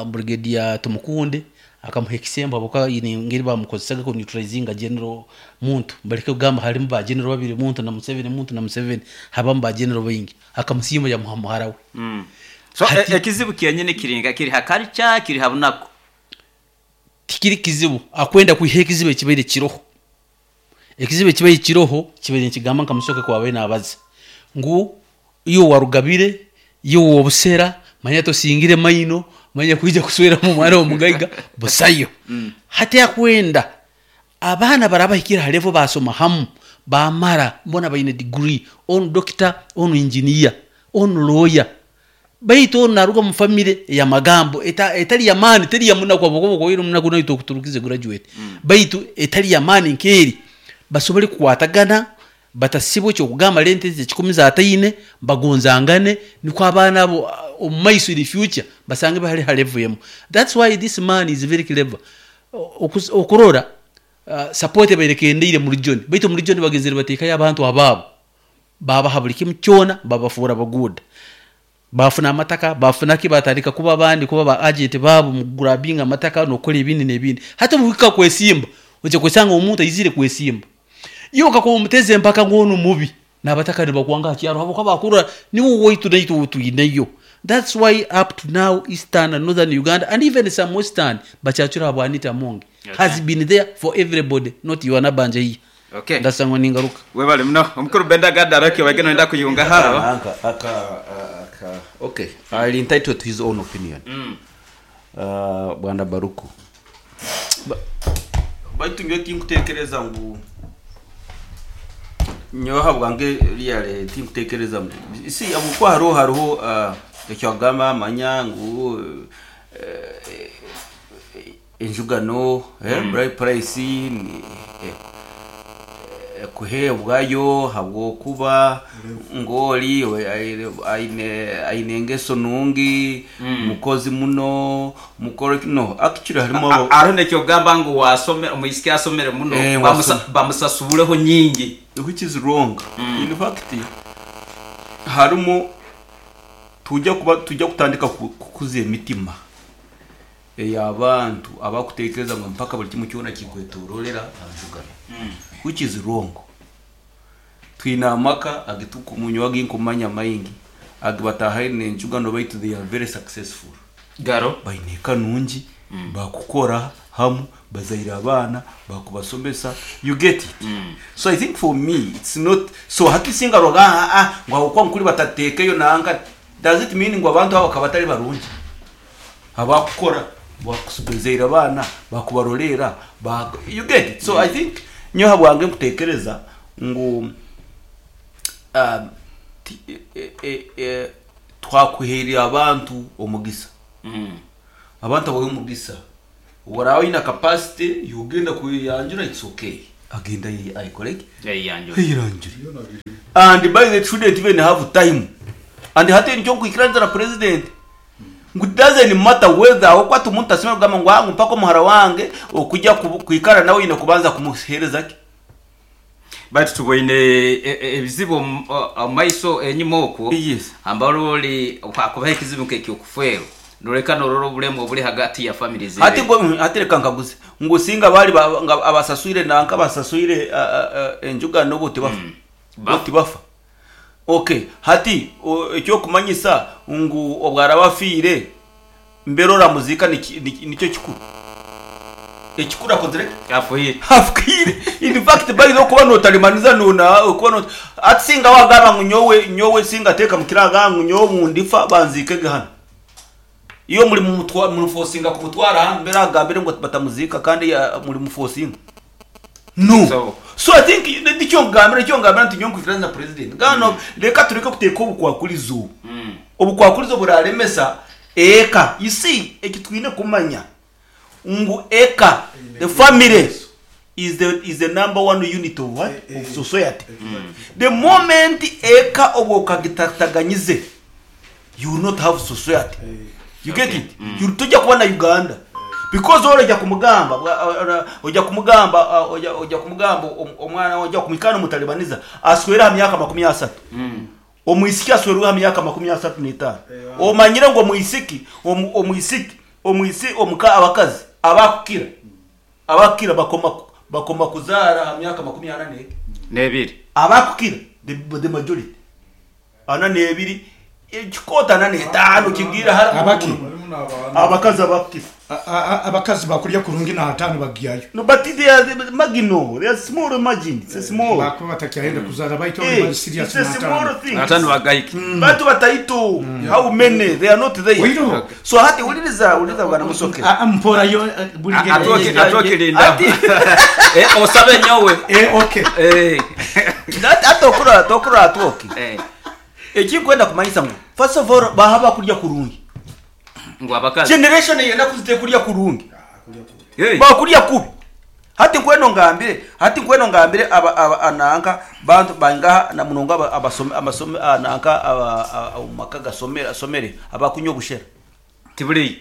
Brigadier Tumukunde akamuha ekisembo habwokuba haine engeri baamukozesaga ku neutralizinga General Muntu, baleke kugamba harimu ba General babiri Muntu na Museveni, Muntu na Museveni, habamu ba General baingi. Akamusiima yamuha muhara we. So Hati. Ekizibu kyenyini kiri nka kiri ha culture, kiri ha bunaku? Tikiri kizibu akwenda kwihaho ekizibu ekibaire kiroho. Ekizibu ekibaire kiroho kibaire nikigamba nka Musoke ku abaire nabaza ngu iwe warugabire, iwe w'obusera, manya tosingire maino, manya kwija kusweramu omwana w'omugaiga busayo. Hati akwenda abaana baraba bahikire ha level basoma hamu bamara bona baine degree, onu doctor, onu engineer, onu lawyer. Baitu onu naruga omu family eyamagambo etari yamaani teri yamunaku habwokuba obu oine omunaku naitwe tokuturukize graduate baitu etari yamaani nkeri basobole kukwatagana batasibwa ekyokugamba rent ezi ekikumi zataine bagonzangane nikwo abaana abo omumaiso in future basange bari ha level emu that's why this man is very clever okurora support ebaire ekendeire omuri John baitu omuri John bagenzire batekayo abantu abaabo Baabaha buri kimwe kyona, baabafuura abaguuda. Baafuna amataka, baafuna ki, baatandika kuba abandi kuba ba agenti baabo omu kugrabinga amataka n'okukora ebindi n'ebindi. Hati obu ohika kwesimba, oija kwesanga omuntu aizire kwesimba. Iwe kakuba omuteza empaka ngu onu mubi, n'abataka nibakwanga ha kyaro habwokuba baakurora niwe owaitu naitwe ou twineyo. That's why up to now Eastern and Northern Uganda and even some Western bakyacura habwa Anita Among. Has been there for everybody not your Nabanja here. Okay. Ndasangwa ningaruka. Webale muno. Omukuru Benda Gad Araki obaige noyenda kuyungaho aho. Aka, aka, aka, okay, ali entitled to his own opinion. Bwana Baruku. Baitu nyowe tinkutekereza ngu nyowe habwange really tinkutekereza ngu see habwokuba hariho hariho ekyakugamba manya ngu Enjugano, bride price kuheebwayo ahabw'okuba ngu ori aine engeso nungi, mukozi muno, mukore ki, no actually harimu abo. Hariho n'eky'okugamba ngu waasome omwisiki asomere muno bamusasuureho nyingi. Which is wrong. In fact harimu twija kuba twija kutandika kukuza emitima. Ey'abantu abakutekereza ngu mpaka buri kimwe kyona kikwetororera aha njugano which is wrong. Twine amaka agitukumunyowe aginkumanya maingi agibatahaine enjugano baitu they are very successful. Garo. Baine eka nungi, bakukora hamu, bazaire abaana, bakubasomesa, you get it? So I think for me it's not so hati singaruga aha ngu ahabwokuba ngu kuri batatekeyo nanka does it mean ngu abantu abo bakaba batari barungi? Abakukora bakubazaire abaana bakubaroreera ba you get it so I think nyowe habwange nkutekereza ngu Twakuhaire abantu omugisa. Abantu abahe omugisa. Obu oraabe oine capacity y'okugenda kweyanjura it's okay. Agende ayekore ki? Eyanjure. Eyanjure. And by the way shouldn't even have time. And hati nikyo nkwikiraniza na president ngu it doesn't matter whether ahabw'okuba hati omuntu tasemeriire kugamba ngu aa ngu mpaka omuhara wange okujya kwikara nawe oine kubanza kumuheereza ki? Baitu tuboine ebizibu omu maiso enyima okwo, Yes. hambali ori hakubaho ekizibu nk'eky'okufeerwa, noreka norora obulemu obuli hagati ya families Hati ibiri. ngu hati reka nkaguze ngu singa baali ba- nga abasaswire nanka abasaswire a- a- a- enjugano bo tibafa bo Bafa. tibafa okay hati o- ekyokumanyisa ngu obwaraba afiire Mbere oramuziika nikyo kikuru. Ekikuru akozire ki? Afuire. Afukiire. In fact by the way okuba notarimaniza nona okuba no hati singa wagamba ngu nyowe nyowe singa teeka mukira agamba ngu nyowe obundifa banziikege hanu. Iwe muri mumutwa murimufosinga kumutwara hanu mbere agambire ngu batamuziika kandi muri mufosinga. No. Tikisoboka. So I think nikyo nkugambira nikyo ngambira nti nyowe nkwikiriza na president. Ngamba no reka tureke kuteeka obukwakurizo. Obukwakurizo buraremesa eka. You see eki twine kumanya ngu eka, the family is the is the number one unit of what? Of society. The moment eka obu okagitataganyize you will not have society. You get it? You tojja kuba na Uganda. Because ori oja kumugamba oja kumugamba oja oja kumugamba omwana oja kumwikana omutalibaniza aswere aha myaka 30. Omwisiki aswerwe aha myaka 35. Omanyire ngu omwisiki omwisiki omwisi omuka abakazi abakukira abakukira bakoma bakoma kuzaara aha myaka makumi ana n'ebiri. N'ebiri. Abakukira the the majority ana n'ebiri ekikooti ana n'etaano kigiire hara Abaki? muno. Abakazi abakukira. Abakazi bakurya kurungi n'ataano bagyayo. No but they are marginal, they are small margin, it's a small. Bakuba batakyayenda kuzaara baitu Eh, bari serious it's a small n'ataano. thing. Ataano bagahika. Batu bataito, how many, they are not there. Oiroho. So hati wuliriza, wuliriza bwana Musoke. Ah, ah, mpora yo eh, buri ngeri. Atwokirinda. Ati Osabe nyowe. Eh, okay. Hati okurora, tokurora atwoki. Eh. Ekinkwenda kumanyisa ngu first of all baha bakurya kurungi. Ngu abakazi. Generation eyenaku zitekurya kurungi. Hey. Bakurya kubi. Hati nkwenda ongambire, hati nkwenda ongambire aba aba nanka bantu baingaha na munonga aba abasome amasome nanka aba omu maka gasomere asomere abakunywa obushera. Tiburiyo.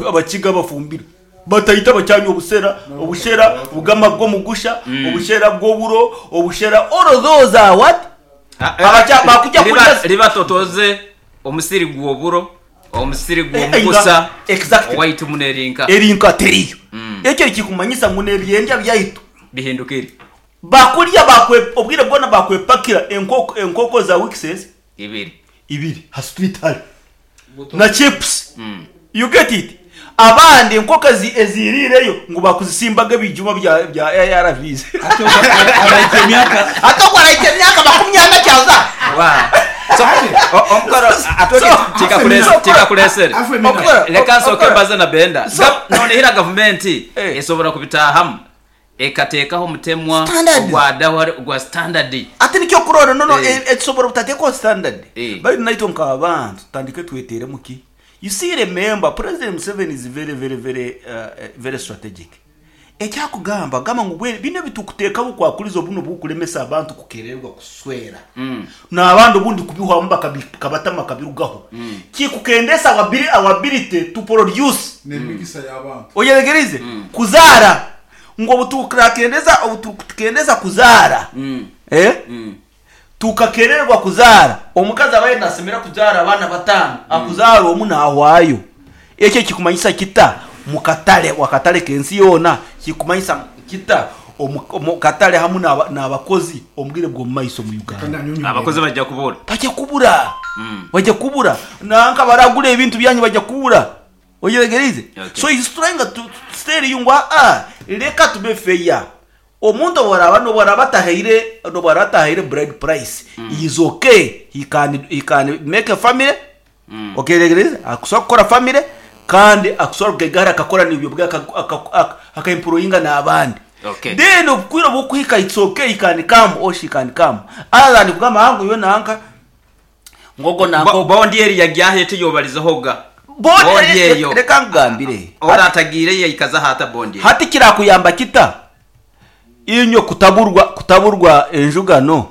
Abakiga abafumbirwe bataita abakyanywa obusera, obushera bw'ama bw'omugusha, obushera bw'oburo, obushera all of those are what? Abakya bakujya kurya Riba totoze omusiri gw'oburo, omusiri Eh, eh, gw'omugusa, exactly. owaitu muno erinka. Erinka teriyo. Ekyo nikikumanyisa ngu n'ebyendya byaitu Bihindukire. Bakurya bakwe obwire bwona bakwepakira enkoko enkoko za weeks ezi Ibiri. ibiri ha street hari na chips you get it abandi enkoko ezi eziriireyo ngu bakuzisimbaga ebijuma bya bya ARVs Ate ogwo araija emyaka ate ogwo araija emyaka 40 kyaza Wow. So, omukoro atweke tikakuresere. Afe mina. Okora, Leka nsooke okora. mbaze na Benda. So- Nonihira gavumenti Eh. esobora kubitahamu ekateekaho omutemwa Standard. ogwadaho ogwa standard. Ate nikyo kurora no no Eh. ekisobora butateekwaho standard. Eh. Baitu naitwe nk'abantu tutandike tweteeremu ki? You see remember President Museveni is very very very very strategic. Eki akugamba agamba ngu bwe binu ebitukuteekaho obukwakurizo bunu obukuremesa abantu kukerererwa kuswera n'abandi obundi kubihwamu bakabatama bakabirugaho kikukendesa our our ability to produce N'emigisa y'abantu. Oyetegerize? Kuzaara ngu obuturakendeza obutukendeza kuzaara eh? Tukakererwa kuzaara omukazi abaire nasemera kuzaara abaana bataano akuzaara omu nahwayo ekyo kikumanyisa kita mukatare wakatare kensi yoona kikumanyisa kita omu katare hamu n'abakozi omu bwire bw'omu maiso omu Uganda. Abakozi bajja kubura. Bajja kubura. Bajja kubura. Nanka baragura ebintu byanyu bajja kubura. Oyetegerize? Okay. So he's trying to tell you ngu aa reka tube fair. Omuntu obu araaba n'obu araaba atahaire n'obu araaba atahaire bride price, he is okay. He can he can make a family. Oketegereza? Akusobola kukora family kandi akusobola kugegara akakora n'ebyo bwe aka employinga n'abandi. Okay. Then obukwire obukuhika it's okay he can come or she can come. Other than kugamba ngu iwe nanka Ngu ogwo nanka Bo- ogwo. Bondi eri yagyaho eti yobarizehoga. Bondi Bondi eyo. reka nkugambire. Ora atagiire yaikazaho ata bondi eyo? Hati kirakuyamba kita inywe kutaburwa kutaburwa enjugano?